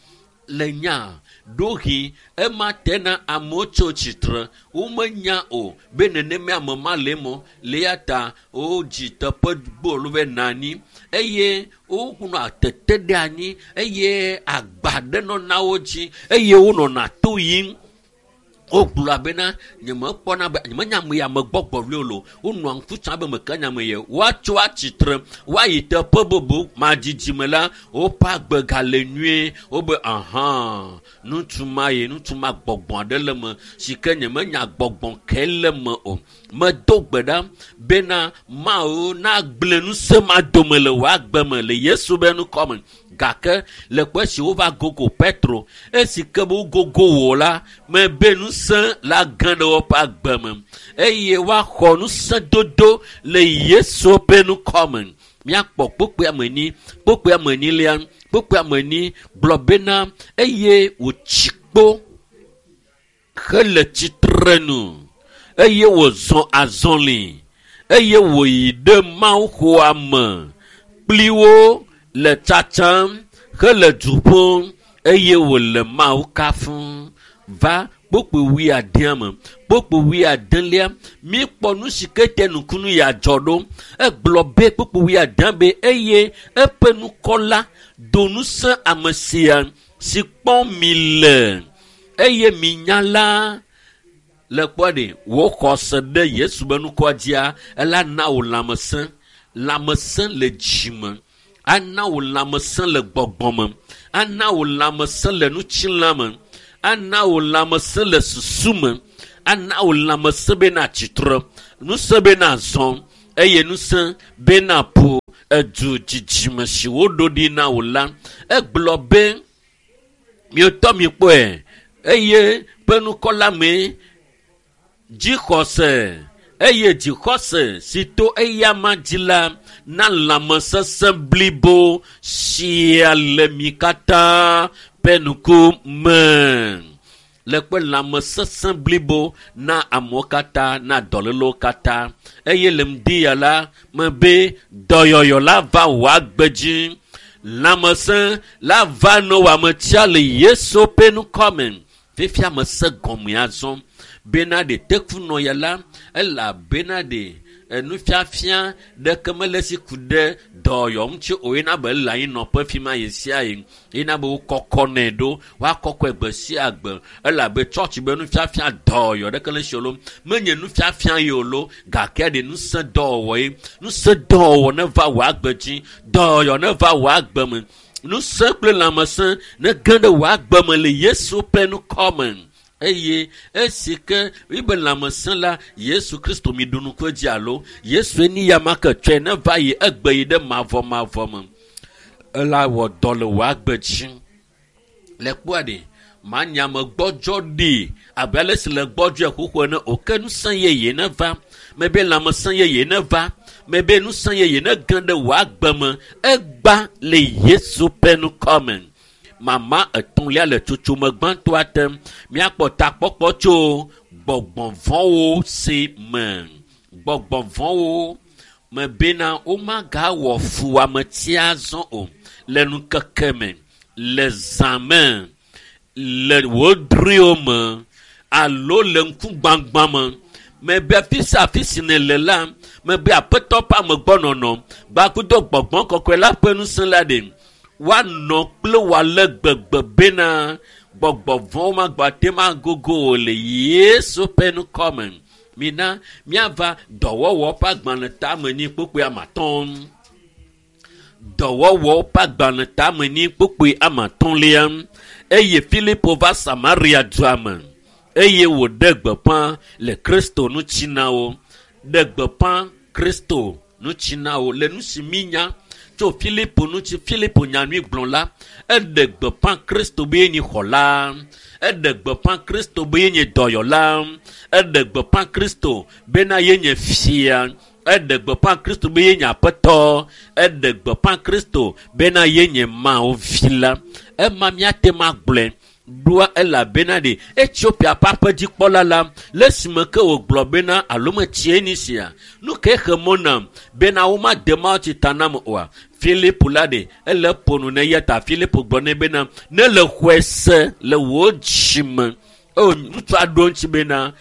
le nya ɖohi ema tena amewo tso tsitre womenya o be nenema ame ma le mo le ya ta wodzi teƒe gbolo be nani eye wonɔ tete ɖe anyi eye agba ɖe nɔna wo dzi eye wonɔna to yim. Wogblɔa bena nyemekpɔna be nyemenya ame ya megbɔgbɔ vli o lo. Wonɔa ŋku tsam be meke nya me ye. Woatso atsitre, woayi teƒe bubu madzidzime la, woƒe agbe gale nyuie. Wobe ahã, ŋutsu ma ye, ŋutsu ma gbɔgbɔ aɖe le me si ke nyemenya gbɔgbɔ ke le me o. Medo gbe ɖa bena Mawu nagblẽ ŋusẽ ma dome le wò agbe me le Yesu be ŋkɔ me. Gake le kpe si wova gogo Petro, esi ke be wogogo wò la, mebe ŋusẽ la gã ɖe woƒe agbe me eye woaxɔ ŋusẽ dodo le Yesu ƒe ŋkɔ me. Míakpɔ kpukpui ame enyi, kpukpui ame enyilia, kpukpui ame enyi gblɔ bena eye wòtsi kpo hele tsitre nu eye wòzɔ azɔli eye wòyi ɖe mawuxɔa me kpli wo le tsatsam hele du ƒom eye wòle Mawu kafum. Va kpukpui wuiadea me. Kpukpui wuiadelia, míekpɔ nu si ke te nukunu ya dzɔ ɖo. Egblɔ be kpukpui wuiadea be eye eƒe ŋkɔ la do ŋusẽ ame sia si kpɔm mi le eye minya la le kpɔ ɖe wò xɔse ɖe Yesu be ŋkɔa dzia ela na wò lãmesẽ. Lãmesẽ le dzime, ana wò lãmesẽ le gbɔgbɔ me, ana wò lãmesẽ le ŋutilã me, ana wò lãmesẽ le susu me, ana wò lãmesẽ bena tsitre, ŋusẽ bena zɔ eye ŋusẽ bena ƒo edu dzidzime si woɖo ɖi na wò la. Egblɔ be mietɔ mikpɔe eye ƒe ŋkɔ la mee dzixɔse eye dzixɔse si to eyama dzi la na lãmesesẽ blibo sia le mi katã ƒe ŋkume. Le kpe lãmesesẽ blibo na amewo katã, na dɔlélewo katã. Eye le ŋdi ya la, mebe dɔyɔyɔ la va wò agbe dzi. Lãmesẽ la va ne wò ametia le Yesu ƒe ŋkɔ me. Fifia mese gɔme azɔ bena ɖe tekunɔ ya la, elabena ɖe enufiafia ɖeke mele si ku ɖe dɔyɔ ŋuti o yina be le anyinɔƒe fi ma ɣe sia ɣi. Yina be wokɔkɔnɛ ɖo, woakɔkɔe gbe sia gbe elabe tsɔtsi be nufiafia dɔyɔ ɖeke le si o lo. Menye nufiafia ye o lo, gake ɖe ŋusẽ dɔwɔwɔ ye. Ŋusẽ dɔwɔwɔ ne va wò agbe dzi, dɔyɔ ne va wò agbe me. Ŋusẽ kple lãmesẽ ne ge ɖe wò agbe me le Yesu ƒe ŋkɔ me. Eye esi ke ibe lãmesẽ la, Yesu Kristo mi ɖu nuku edzi alo Yesu ni ya ma ke tsɔe ne va yi egbe yi ɖe mavɔmavɔ me. Ela wɔ dɔ le wò agbe dzi. Le kpɔa ɖe manya me gbɔdzɔ ɖi abe ale si le gbɔdzɔe xoxo ene o ke ŋusẽ yeye ne va mebe lãmesẽ yeye ne va mebe ŋusẽ yeye ne ge ɖe wò agbe me egba le Yesu ƒe ŋkɔ me. Mama etɔ̃lia le tsotsome gbãtɔa te míakpɔ takpɔkpɔ tso gbɔgbɔvɔ̃wo si me. Gbɔgbɔvɔ̃wo me bena womagawɔ fu ametia azɔ o le ŋkeke me, le zã me, le wò drɔ̃ewo me alo le ŋkugbãgbã me. Mebe afi sia afi si nèle la, mebe aƒetɔ ƒe amegbɔnɔnɔ gbakudo gbɔgbɔ kɔkɔe la ƒe ŋusẽ la ɖe woanɔ kple wò ale gbegbe bena gbɔgbɔ vɔ̃wo magbate magogo wò le Yesu ƒe ŋkɔ me. Mina míava dɔwɔwɔ ƒe agbalẽ tame nyi kpukpui ame atɔ̃. Dɔwɔwɔ ƒe agbalẽ tame nyi kpukpui ame atɔ̃lia. Eye Filipo va Samaria dua me eye wòɖe gbeƒã le Kristo ŋuti na wo. Ɖe gbeƒã Kristo ŋuti na wo le nu si mínya tso Filipo ŋuti. Filipo nyanyuigblɔla eɖe gbeƒã Kristo be yenye xɔla, eɖe gbeƒã Kristo be yenye dɔyɔla, eɖe gbeƒã Kristo bena yenye fia, eɖe gbeƒã Kristo be yenye aƒetɔ, eɖe gbeƒã Kristo bena yenye Mawu vi la. Ema míate ŋu agblɔe ɖoa elabena ɖe Etiopia ƒe aƒedzikpɔla la le esime ke wògblɔ bena alo metsie ni sia nu ke xe mɔ nam bena womade mawutsi ta nam oa. Filipo la ɖe ele ƒo nu ne eya ta Filipo gblɔ nɛ bena ne le xɔe se le wò dzime. O ŋutsua ɖo eŋuti bena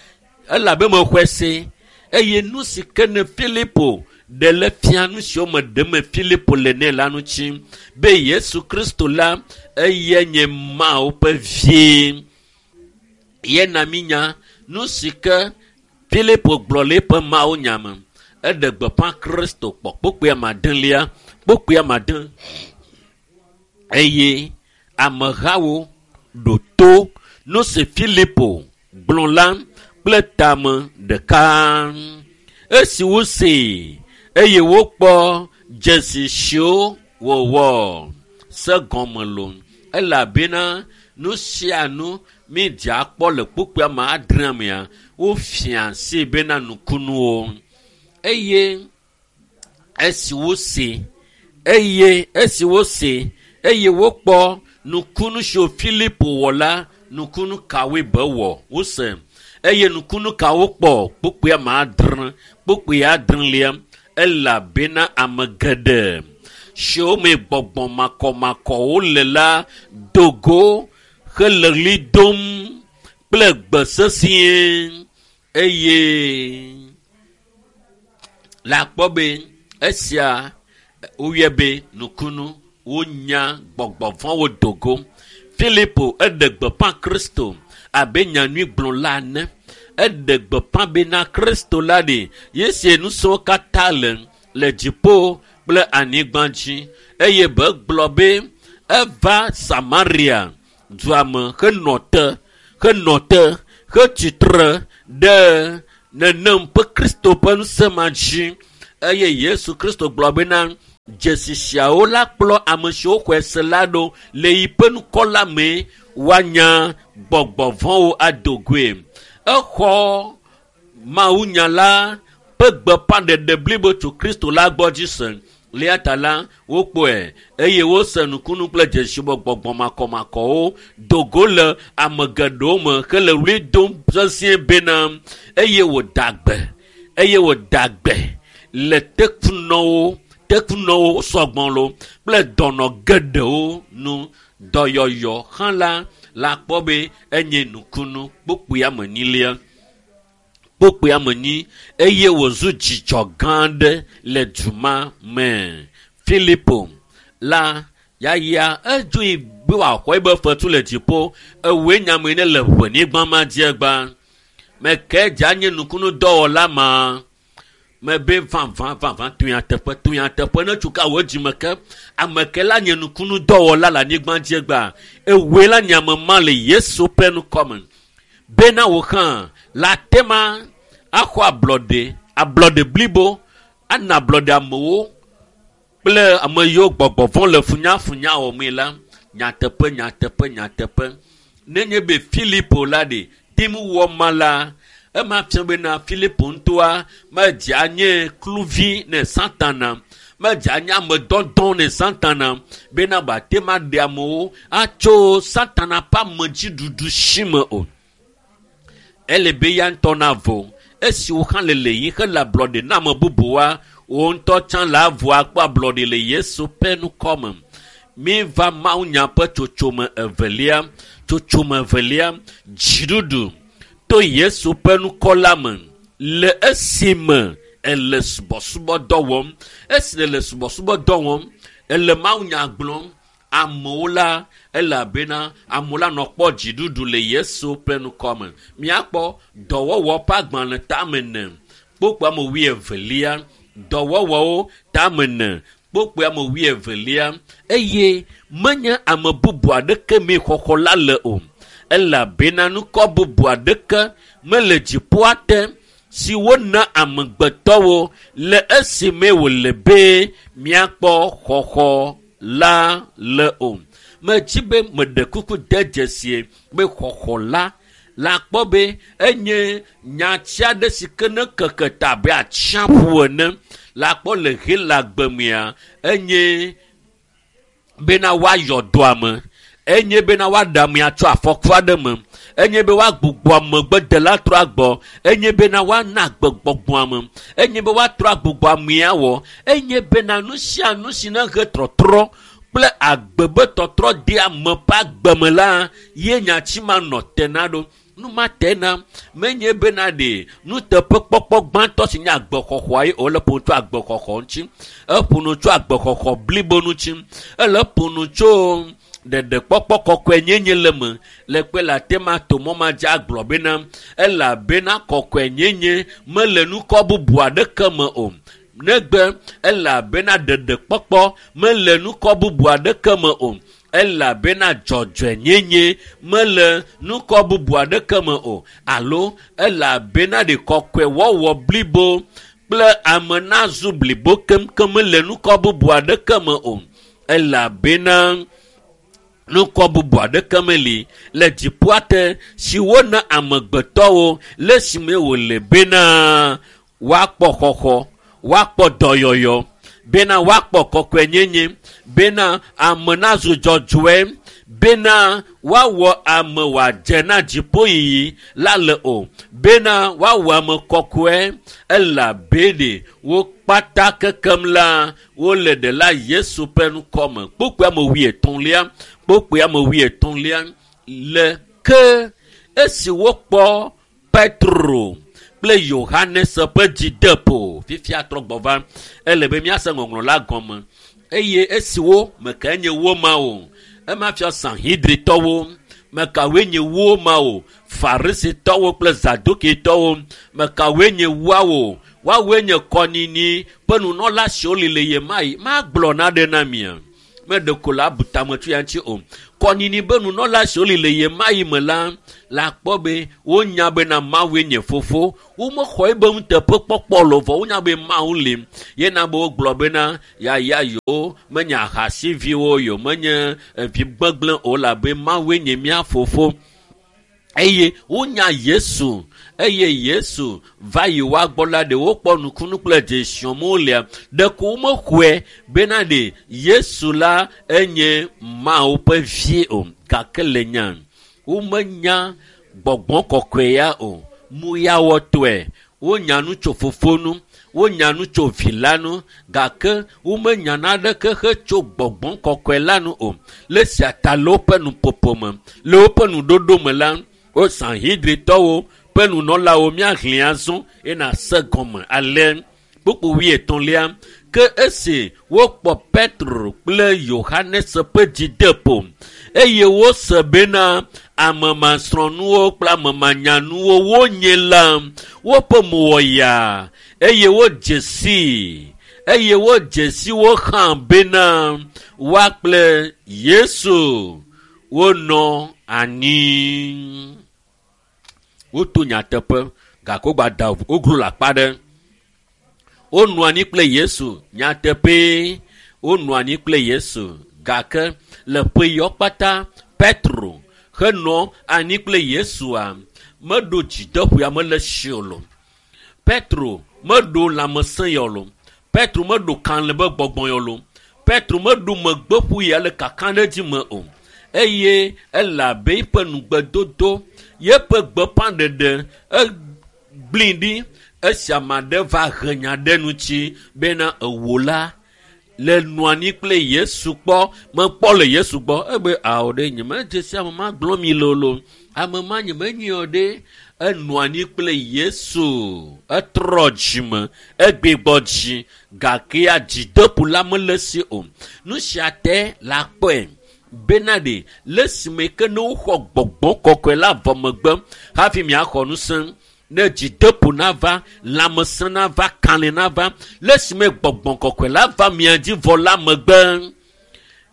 elabe mexɔe se eye nu si ke ne Filipo ɖe le fia nu siwo me ɖem Filipo le nɛ la ŋuti be Yesu Kristo la eye nye Mawu ƒe vie. Yena mínya nu si ke Filipo gblɔ le eƒe mawunya me. Eɖe gbeƒã Kristo kpɔ kpukpui ame adelia, kpukpui ame ade eye amehawo ɖo to nu si Filipo gblɔ la kple tame ɖeka. Esi wosee eye wokpɔ dzesi siwo wòwɔ se gɔme lo elabena nu sia nu mídze akpɔ le kpukpui ame adrea mea wofia asi bena nukunuwo. Eye esi wose eye esi wose eye wokpɔ nukunu siwo Filipo wɔ la, nukunu kawoe be wɔ wose eye nukunu kawo kpɔ kpukpui ame adre kpukpui adrelia elabena ame geɖe siwo me gbɔgbɔ makɔmakɔwo le la do go hele ɣli dom kple gbe sesĩe eye le akpɔ be esia woyɔe be nukunu wonya gbɔgbɔ vɔ̃wo do go. Filipo eɖe gbeƒã Kristo abe nyanyuigblɔla ene. Eɖe gbeƒã bena Kristo la ɖe yesie ŋusẽwo katã le le dziƒo kple anyigba dzi eye be gblɔ be eva Samaria dua me henɔ te henɔ te hetsitre ɖe nenem ƒe Kristo ƒe ŋusẽ ma dzi eye Yesu Kristo gblɔ bena dzesi siawo la kplɔ ame siwo xɔe se la ɖo le yiƒe ŋkɔ la me woanya gbɔgbɔ vɔ̃wo ado goe. Exɔ mawunya la ƒe gbeƒãɖeɖe blibo tso Kristo la gbɔ dzi se. Le eya ta la wokpɔe eye wose nukunu kple dzesi be gbɔgbɔ makɔmakɔwo do go le ame geɖewo me hele ɣli dom sesĩe bena eye wòda gbe eye wòda gbe le tekunɔwo tekunɔwo sɔgbɔ lo kple dɔnɔ geɖewo nu. Dɔyɔyɔ hã la la kpɔ be enye nukunu kpukpui ame enyilia kpukpui ame enyi eye wòzu dzidzɔ gã aɖe le du ma me. Filipo la yaya edzoe be wòaxɔ eƒe fetu le dziƒo ewoe nyame ne le ʋenyigba ma dzi egba. Meke dze anye nukunu dɔwɔla ma mebe vavã vavã to nyateƒe to nyateƒe ne tso ka wò dzime ke ame ke la nye nukunu dɔwɔla le anyigba dzi egba ewoe la nye ame ma le Yesu ƒe ŋkɔ me bena wò hã la tema axɔ ablɔɖe ablɔɖe blibo ana ablɔɖe amewo kple ame yiwo gbɔgbɔ vɔ̃ le funyafunya wɔmee la Nyateƒe, nyateƒe, nyateƒe. Nenye be Filipo la ɖe tem wɔ ma la, ema fia bena Filipo ŋutɔa medze anye kluvi ne Satana, medze anye ame dɔdɔ ne Satana bena wòate ŋu aɖe amewo atso Satana ƒe amedziɖuɖu si me o. Ele be ya ŋutɔ navo. Esi wo hã le le yi hele ablɔɖe na ame bubuwoa, wo ŋutɔ tsã le avo akpɔ ablɔɖe le Yesu ƒe ŋkɔme. Míva mawunya ƒe tsotsome evelia. Tsotsome evelia, dziɖuɖu to Yesu ƒe ŋkɔ la me le esime ele subɔsubɔdɔ wɔm. Esi le subɔsubɔdɔ wɔm, ele mawunya gblɔm, amewo la, elabena amewo la nɔ kpɔ dziɖuɖu le Yesu ƒe ŋkɔ me. Míakpɔ dɔwɔwɔ ƒe agbalẽ tame ene, kpokpo ame wuievelia, dɔwɔwɔwo tame ene, kpokpo ame wuievelia, eye menye ame bubu aɖeke mee xɔxɔ la le o. Elabena ŋkɔ bubu aɖeke mele dziƒoa te si wona amegbetɔwo le esime wòle be míakpɔ xɔxɔ la le o. Medzi be meɖe kuku de dzesie be xɔxɔ la la kpɔ be enye nyati aɖe si ke ne keke ta abe atsiaƒu ene. La kpɔ le Helagbe mea, enye bena woayɔ dɔ ame, enye bena woaɖe amea tso afɔku aɖe me, enye be woagbugbɔ amegbedela trɔ agbɔ, enye bena woana agbegbɔgbɔ ame, enye be woatrɔ agbugbɔ amea wɔ, enye bena nu sia nu si ne he trɔtrɔ kple agbe be tɔtrɔ de ame ƒe agbe me la, ye nyati ma nɔ te na ɖo. Nu ma te na menye bena ɖe nuteƒekpɔkpɔ gbãtɔ si nye agbexɔxɔa ye wòle ƒo nu tso agbexɔxɔ ŋuti. Eƒo nu tso agbexɔxɔ blibo ŋuti. Ele ƒo nu tso ɖeɖekpɔkpɔ kɔkɔe nyenye le me. Le kpe le ate ma to mɔ ma dzi agblɔ bena elabena kɔkɔe nyenye mele nukɔ bubu aɖeke me o. Negbe elabena ɖeɖekpɔkpɔ mele nukɔ bubu aɖeke me o. Elabena dzɔdzɔenyenye mele nukɔ bubu aɖeke me o. Alo elabena ɖe kɔkɔewɔwɔ blibo kple ame nazu blibo keŋkeŋ mele nukɔ bubu aɖeke me o. Elabena nukɔ bubu aɖeke meli le dziƒoa te si wona amegbetɔwo le esime wòle bena woakpɔ xɔxɔ, woakpɔ dɔyɔyɔ, bena woakpɔ kɔkɔenyenye, bena ame nazu dzɔdzɔe, bena woawɔ ame wòadze na dziƒoyiyi la le o, bena woawɔ ame kɔkɔe, elabe wo kpata kekem la wole ɖela Yesu ƒe ŋkɔ me. Kpokpoe ame wuietɔ̃lia, kpokpoe ame wuietɔ̃lia le ke esi wokpɔ Petro kple Yohanes ƒe dzideƒo. Fifia trɔ gbɔ va, ele be míase ŋɔŋlɔ la gɔme. Eye esi wo mekae nye wo ma o, ema fia Sanhedritɔwo, mekawoe nye wo ma o, Farisitɔwo kple Zadukitɔwo, mekawoe nye woawo, woawoe nye kɔnyinyi ƒe nunɔla siwo li le ɣemaɣi. Magblɔ naɖe na mia, meɖe ko la abu tame tso ya ŋuti o. Kɔnyinyi be nunɔla siwo li le ɣemaɣi me la, la kpɔ be wonya bena Mawue nye fofo. Womexɔ ebe nuteƒekpɔkpɔ le o, vɔ wonya be Mawu li. Yena be wogblɔ bena yaya yewo menye ahasiviwo, yewo menye vi gbegblẽ o, elabe Mawue nye mía fofo. Eye wonya Yesu, eye Yesu va yi woa gbɔ la, ɖe wokpɔ nukunu kple dzesiwo lia, ɖeko womexɔe bena ɖe Yesu la enye Mawu ƒe vi o. Gake le nya, womenya gbɔgbɔ kɔkɔe ya o. Muyawɔtɔe, wonya nu tso fofo nu, wonya nu tso vi la nu, gake womenya naneke hetso gbɔgbɔ kɔkɔe la nu o. Le esia ta le woƒe nuƒoƒo me, le woƒe nuɖoɖo me la, wo Sanhedritɔwo ƒe nunɔlawo míahlẽ azɔ eye se gɔme ale. Kpukpu wuietɔ̃lia, ke esi wokpɔ Petro kple Yohanes ƒe dzideƒo eye wose bena ame masrɔ̃nuwo kple ame manyanuwo wonye la, woƒe mo wɔ yaa eye wodze sii, eye wodze si wo hã bena woa kple Yesu wonɔ anyi. Woto nyateƒe gake wogbada woglo le akpa ɖe. Wonɔ anyi kple Yesu nyateƒee, wonɔ anyi kple Yesu Gake le ƒe yawo kpata Petro henɔ anyi kple Yesua meɖo dzideƒoa mele si o lo. Petro meɖo lãmesẽ ya o lo. Petro meɖo kalẽ be gbɔgbɔ ya o lo. Petro meɖo megbeƒu ya le kakaɖedzi me o. Eye ele abe eƒe nugbedodo, yeƒe gbeƒãɖeɖe egblẽ ɖi esi ame aɖe va he nya ɖe ŋuti bena ewo la le nɔ anyi kple Yesu kpɔ, mekpɔ le Yesu gbɔ. Ebe ao ɖe nyemedze si ame ma gblɔ mi lolo. Ame ma nyemenyi o ɖe. Enɔ anyi kple Yesu. Etrɔ dzime, egbigbɔ dzi gake ya dzideƒo la mele esi o. Nu sia te la kpɔe bena ɖe le esime ke ne woxɔ gbɔgbɔ kɔkɔe la vɔ megbe hafi miaxɔ ŋusẽ. Ne dzideƒo nava, lãmesẽ nava, kalẽ nava, le esime gbɔgbɔ kɔkɔe la va mia dzi vɔ la megbe.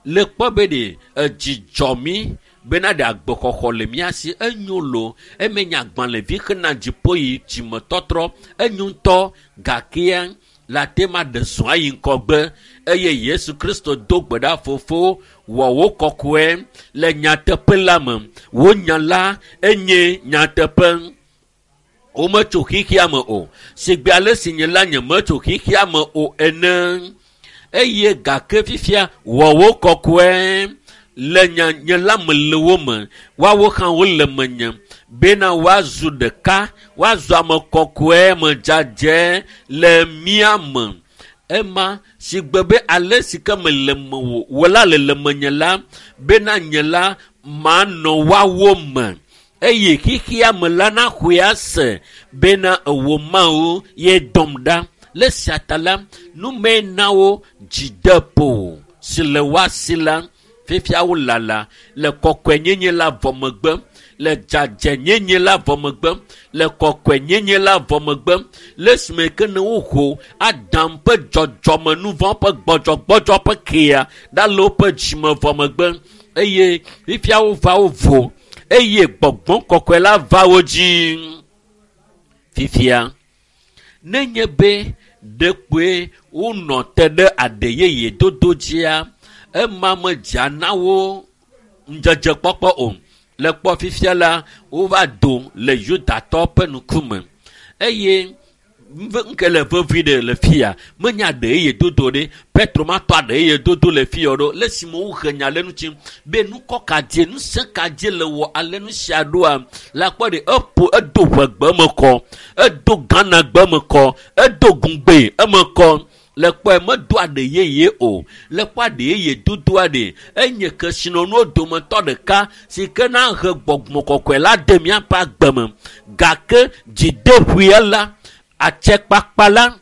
Le kpɔ be ɖe edzi dzɔ mí bena ɖe agbexɔxɔ le mía si enyo lo eme nye agbalẽvi hena dziƒo yi dzimetɔtrɔ enyo ŋutɔ gakea la te ma ɖe zɔ ayi ŋgɔgbe eye Yesu Kristo do gbe ɖa fofo wɔ wo kɔkɔe le nyateƒe la me. Wo nya la enye nyateƒe. Wometso xexea me o. Sigbe ale si nye la nye metso xexea me o ene. Eye gake fifia wɔ wo kɔkɔe le nya nye la me le wo me. Woawo hã wole menye bena woazu ɖeka, woazu ame kɔkɔe me dzadzɛ le mía me. Ema sigbe be ale si ke mele mewò, wò la le le menye la, bena nye la manɔ woawo me. Eye xexea me la naxɔe ase bena ewò Mawu ye dɔm ɖa. Le sia ta la, nume na wo dzideƒo si le woa si la, fifia wolala le kɔkɔenyenye la vɔ megbe, le dzadzɛnyenye la vɔ megbe, le kɔkɔenyenye la vɔ megbe, le esime ke ne woho Adam ƒe dzɔdzɔmenuvɔ̃ ƒe gbɔdzɔgbɔdzɔ ƒe kea ɖa le woƒe dzime vɔ megbe eye fifia wova wo vo eye gbɔgbɔ kɔkɔe la va wo dzi. Fifia nenye be ɖekpoe wonɔ te ɖe aɖe yeye dodo dzia, ema medzea na wo ŋudzedzekpɔkpɔ o. Le kpɔ fifia la, wova do le Yudatɔwo ƒe ŋkume eye ŋke le vevi ɖe le fia menya aɖe yeye dodo ɖe. Petro matɔ aɖe yeye dodo le fia ɖo le esime wohe nya le ŋuti be nukɔ ka dzie, ŋusẽ ka dzie le wɔ ale nu sia ɖoa, la kpɔ ɖe eƒo edo ʋegbe me kɔ, edo Ghanagbe me kɔ, edo gungbe eme kɔ. Le kpɔe medo aɖe yeye o. Le kpɔ aɖe yeye dodo aɖe enye kesinɔnuwo dometɔ ɖeka si ke na he gbɔgbɔ kɔkɔe la de míaƒe agbe me. Gake dzideƒoea la, atsekpakpa la,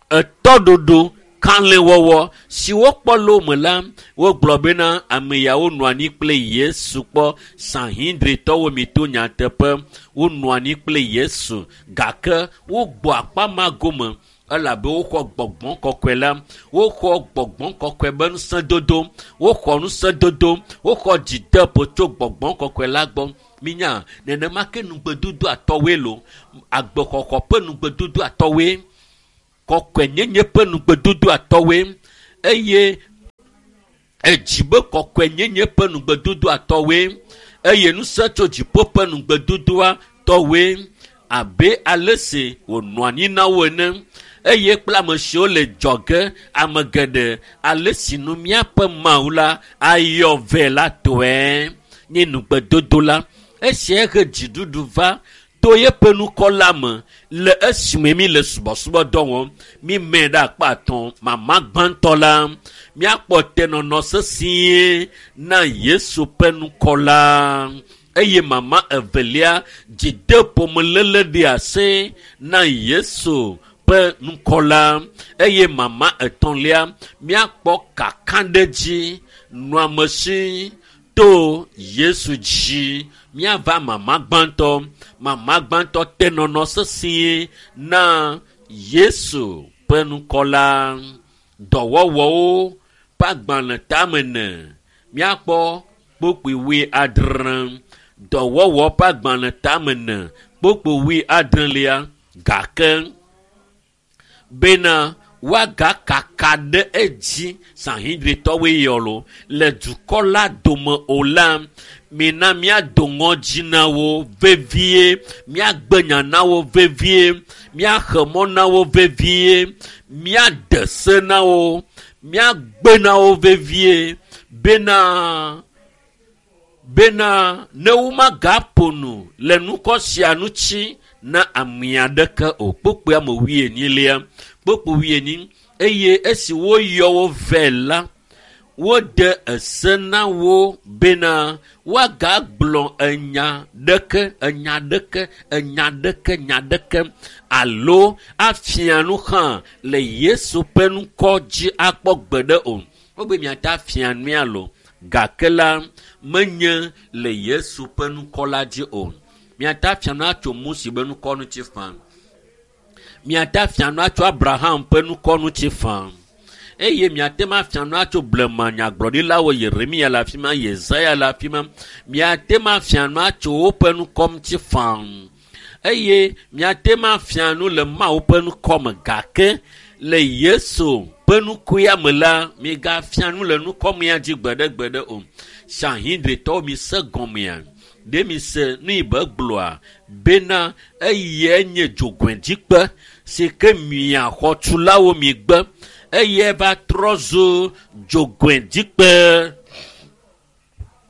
etɔɖoɖo, kalẽwɔwɔ si wokpɔ le wo me la, wogblɔ bena ame yawo nɔ anyi kple Yesu kpɔ. Sanhedritɔwo mi to nyateƒe, wonɔ anyi kple Yesu gake wogbɔ akpa ma gome elabe woxɔ gbɔgbɔ kɔkɔe la, woxɔ gbɔgbɔ kɔkɔe be ŋusẽdodo, woxɔ ŋusẽdodo, woxɔ dzideƒo tso gbɔgbɔ kɔkɔe la gbɔ. Minya nenema ke nugbedodo atɔwoe lo, agbexɔxɔ ƒe nugbedodo atɔwoe, kɔkɔenyenye ƒe nugbedodo atɔwoe eye edzi be kɔkɔenyenye ƒe nugbedodo atɔwoe eye ŋusẽ tso dziƒo ƒe nugbedodoa tɔwoe abe ale si wònɔ anyi na wo ene eye kple ame siwo le dzɔge ame geɖe ale si nu míaƒe Mawu la ayɔ vɛ la tɔe nye nugbedodo la. Esia he dziɖuɖu va to yeƒe nukɔ la me le esime mi le subɔsubɔdɔ wɔm. Mi mɛ ɖe akpa atɔ̃ mama gbãtɔ la míakpɔ tenɔnɔ sesĩe na Yesu ƒe nukɔ la eye mama evelia dzideƒomeléle ɖe asi na Yesu ƒe nukɔ la eye mama etɔ̃lia míakpɔ kakaɖedzi nɔamesi to Yesu dzi. Míava mama gbãtɔ. Mama gbãtɔ tenɔnɔ sesĩe na Yesu ƒe nukɔ la. Dɔwɔwɔwo ƒe agbalẽ tame ene míakpɔ kpukpui wui adre. Dɔwɔwɔ ƒe agbalẽ tame ene kpukpui wui adrelia gake bena woagakaka ɖe edzi Sanhedritɔwoe yɔ lo le dukɔ la dome o la, mina míado ŋɔdzi na wo vevie, míagbe nya na wo vevie, míaxe mɔ na wo vevie, míade se na wo, míagbe na wo vevie bena bena ne womagaƒo nu le nukɔ sia ŋuti na ame aɖeke o. Kpukpui ame wuienyilia, kpukpui wuienyi eye esi woyɔ wo vɛ la, wode ese na wo bena woagagblɔ enya ɖeke, enya ɖeke, enya ɖeke, nya ɖeke alo afia nu hã le Yesu ƒe ŋkɔ dzi akpɔ gbeɖe o. Wobe miate afia nui alo gake la menye le Yesu ƒe ŋkɔ la dzi o. Miate afia nu atso Mose ƒe ŋkɔ ŋuti faa. Miate afia nu atso Abraham ƒe ŋkɔ ŋuti faa. Eye miate ŋu afia nu atso blema nyagblɔɖilawo Yeremia le afi ma, Yesaya le afi ma. Miate ŋu afia nu atso woƒe ŋkɔ ŋuti faa. Eye miate ŋu afia nu le Mawu ƒe ŋkɔ me gake le Yesu ƒe ŋkɔa me la, migafia nu le ŋkɔmea dzi gbeɖegbeɖe o. Sanhedritɔwo mi se gɔmea. Ɖe mi se nu yi be gblɔa bena eyae nye dzogoedzikpe si ke mia xɔtulawo mi gbe eye va trɔ zu dzogoedzikpe.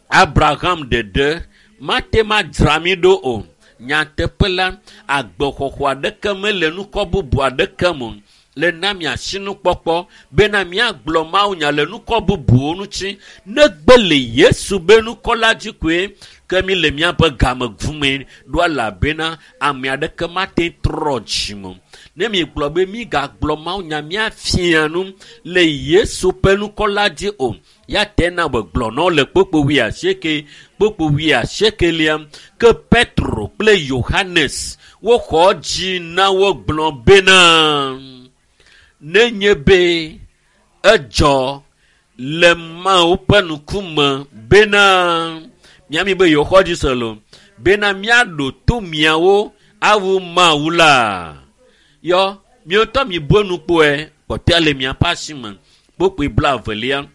Abraham ɖeɖe mate ma dzra mi ɖo o. Nyateƒe la, agbexɔxɔ aɖeke mele nukɔ bubu aɖeke me o. Le na miasi nukpɔkpɔ bena miagblɔ mawunya le nukɔ bubuwo ŋuti negbe le Yesu be ŋkɔ la dzi koe ke mi le miaƒe game gume ɖo elabena ame aɖeke mate trɔ dzime. Ne mi gblɔ be migagblɔ mawunya miafia nu le Yesu ƒe ŋkɔ la dzi o, ya te na be gblɔ na wo le kpukpui wuiasieke, kpukpui wuiasiekelia ke Petro kple Yohanes woxɔ dzi na wo gblɔ bena nenye be edzɔ le Mawu ƒe ŋkume bena miami be yewoxɔ dzi se lo bena miaɖo to miawo awu Mawu la. Yɔ miwotɔ mi bu nukpɔe kpɔtɔe le miaƒe asi me. Kpukpui blaevelia,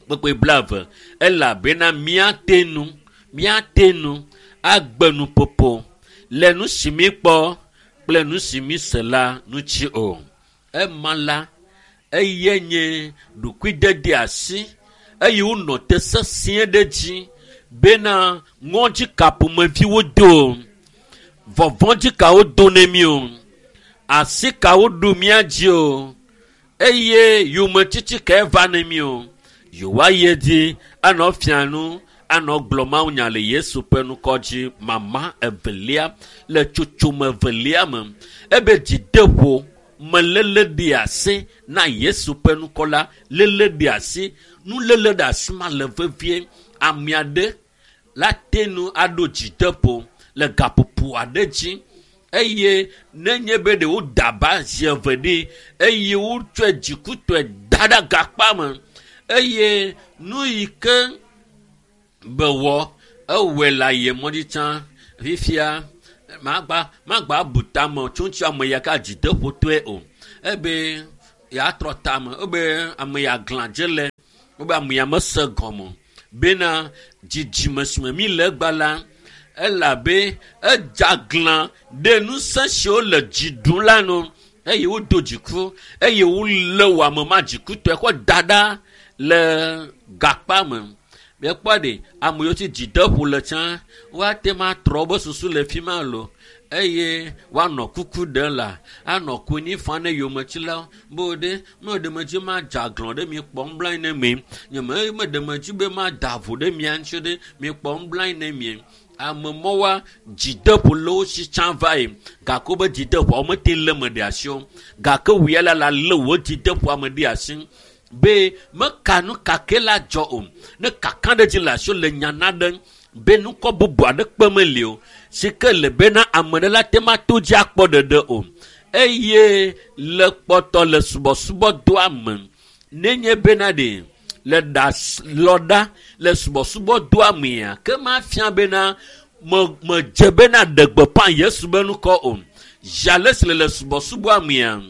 kpukpui blaeve elabena miate nu, miate nu agbe nuƒoƒo le nu si mi kpɔ kple nu si mi se la ŋuti o. Ema la, eye nye ɖokuidede asi eye wonɔ te sesĩe ɖe dzi bena ŋɔdzi ka ƒomeviwo do o, vɔvɔ̃dzi kawo do ne mi o, asi kawo ɖu mía dzi o, eye yometiti kae va ne mi o. Yewoayi edzi anɔ fia nu, anɔ gblɔ mawunya le Yesu ƒe ŋkɔ dzi. Mama evelia le tsotsome evelia me ebe dzideƒo meléle ɖe asi na Yesu ƒe ŋkɔ la, léle ɖe asi, nuléle ɖe asi ma le vevie. Ame aɖe la te nu aɖo dzideƒo le gaƒoƒo aɖe dzi eye nenye be ɖe woda aba zi eve ɖi eye wotsɔe dzikutɔe da ɖe gakpa me eye nu yi ke be wɔ ewɔe le ayemɔ dzi tsã fifia magba magba bu tame tso ŋuti ame ya ka dzideƒotɔe o. Ebe yeatrɔ tame, ebe ame ya glã dze le, ebe ame ya mese gɔme bena dzidzime si me mi le egba la, elabe edze aglã ɖe ŋusẽ siwo le dzi ɖum la nu eye wodo dziku eye wolé wò ame ma dzikutɔe kɔ da ɖa le gakpa me. Miekpɔ ɖe ame yiwo tsi dzideƒo le tsã woate ŋu atrɔ woƒe susu le fi ma lo eye woanɔ kuku ɖem la anɔ konyi fam ne yometsilawo be wo ɖe meɖe medzi madze aglã ɖe mi kpɔm blanyi ne mi nye me meɖe medzi be mada vo ɖe mia ŋuti ɖe mi kpɔm blanyi ne mi. Ame mɔwoa dzideƒo le wo si tsã va yi gake wobe dzideƒoa womete lé me ɖe asi o gake wò ya la la lé wò dzideƒoa me ɖe asi be meka nu kake la dzɔ o ne kaka ɖe dzi le asi le nya na ɖe be nukɔ bubu aɖe kpe meli o si ke le bena ame ɖe la te ma to dzi akpɔ ɖeɖe o eye le kpɔtɔ le subɔsubɔdɔa me nenye bena ɖe le ɖa lɔ ɖa le subɔsubɔdɔa mea ke ma fia bena me medze bena ɖe gbeƒã Yesu be ŋkɔ o. Zi ale si le le subɔsubɔa mea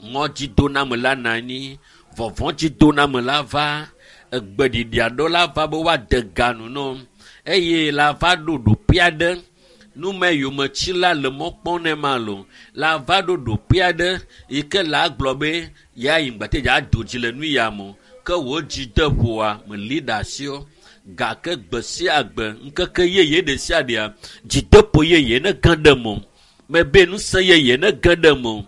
Ŋɔdzidoname la nɔ anyi, vɔvɔ̃dzidoname la va, egbeɖiɖi aɖewo la va be woade ga nu na wo eye la va ɖo ɖoƒe aɖe. Nume yometsila le mɔ kpɔm ne ma lo la va ɖo ɖoƒe aɖe yi ke la gblɔ be ya yi ŋgbate dza do dzi le nu ya me o. Ke wò dzi de ƒoa meli ɖe asi o. Gake gbe sia gbe ŋkeke yeye ɖe sia ɖea dzideƒo yeye ne ge ɖe me o. Mebe ŋusẽ yeye ne ge ɖe me o.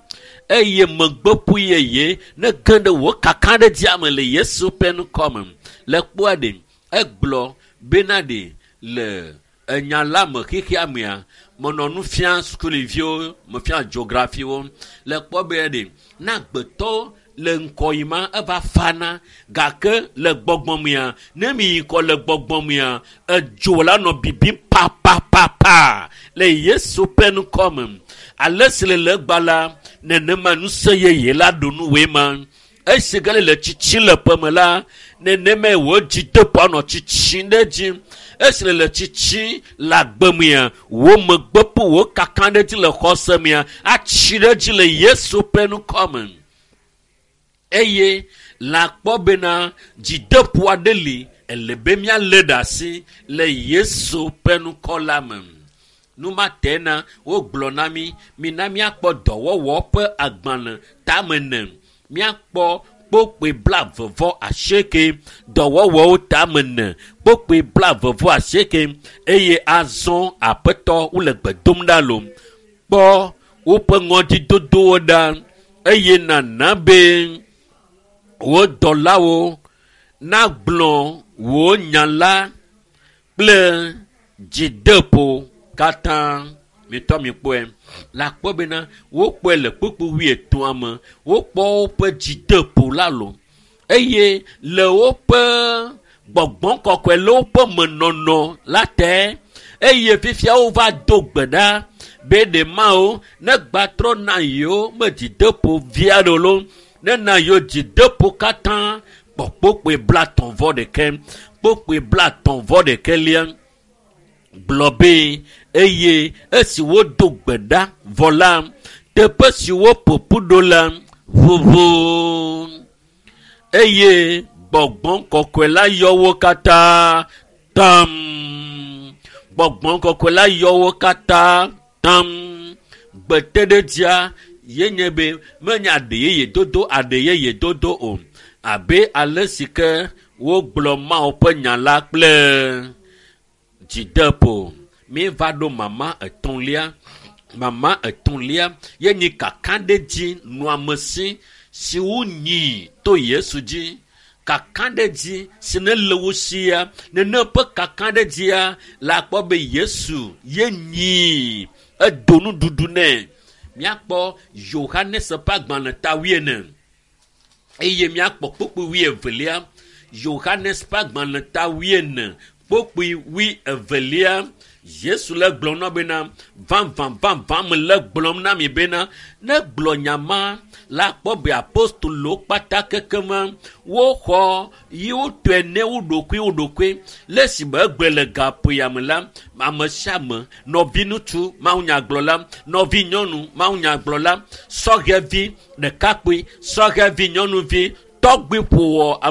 Eye megbeƒu yeye ne ge ɖe wò kaka ɖe dzia me le Yesu ƒe ŋkɔ me. Le kpɔa ɖe egblɔ bena ɖe le enya la me xexea mea menɔ nu fia sukuviwo mefia geografiwo le kpɔ be ɖe na agbetɔ le ŋkɔ yi ma eva fana gake le gbɔgbɔ mea ne mi yi ŋkɔ le gbɔgbɔ mea edzo la nɔ bibim papapapa le Yesu ƒe ŋkɔ me. Ale si le le egba la nenema ŋusẽ yeye la ɖo nuwoe ma. Esi ge le tsitsi le ƒeme la nenemae wò dzideƒo anɔ tsitsi ɖe edzi. Esi le le tsitsi le agbe mea wò megbeƒo wò kaka ɖe edzi le xɔse mea atsi ɖe edzi le Yesu ƒe ŋkɔ me. Eye la kpɔ bena dzideƒo aɖe li ele be míalé ɖe asi le Yesu ƒe ŋkɔ la me. Numa te na wogblɔ na mí mina míakpɔ dɔwɔwɔ ƒe agbalẽ tame ne míakpɔ kpokpoe blaeve vɔ asieke dɔwɔwɔwo tame ne kpokpoe blaeve vɔ asieke eye azɔ aƒetɔ wole gbe dom ɖa lo kpɔ woƒe ŋɔdzidodowo ɖa eye nana be wò dɔlawo nagblɔ wò nya la kple dzideƒo katã. Mitɔ mi kpɔe la kpɔ bena wokpɔe le kpukpu wuietɔ̃a me wokpɔ woƒe dzideƒo la lo eye le woƒe gbɔgbɔ kɔkɔe le woƒe menɔnɔ la te eye fifia wova do gbe ɖa be ɖe mawo ne gbatrɔ na yewo me dzideƒo vi aɖewo lo ne na yewo dzideƒo katã kpɔ kpokpoe blatɔ̃ vɔ ɖeke kpokpoe blatɔ̃ vɔ ɖeke lia gblɔ be eye esi wodo gbe ɖa vɔ la teƒe si woƒo ƒu ɖo la ʋuʋu eye gbɔgbɔ kɔkɔe la yɔ wo katã tam gbɔgbɔ kɔkɔe la yɔ wo katã tam gbeteɖedzia ye nye be menye aɖe yeye dodo aɖe yeye dodo o abe ale si ke wogblɔ Mawu ƒe nya la kple dzideƒo. Míeva ɖo mama etɔ̃lia mama etɔ̃lia ye nyi kakaɖedzi nɔamesi si wonyi to Yesu dzi. Kakaɖedzi si ne le wo sia nene ƒe kakaɖedzia la kpɔ be Yesu ye nyi edo nuɖuɖu nɛ. Míakpɔ Yohanes ƒe agbalẽ ta wuiene eye míakpɔ kpukpui wuievelia. Yohanes ƒe agbalẽ ta wuiene kpukpui wuievelia. Yesu le gblɔm na bena vavã vavã me le gblɔm na mi bena ne gblɔ nya ma la kpɔ be apostolo kpata kekema woxɔ yi wotɔe ne wo ɖokui wo ɖokui le esi be egbe le gaƒo ya me la ame sia ame nɔvi ŋutsu mawunyagblɔla nɔvi nyɔnu mawunyagblɔla sɔhɛvi ɖekakpui sɔhɛvi nyɔnuvi tɔgbi ƒowɔ ame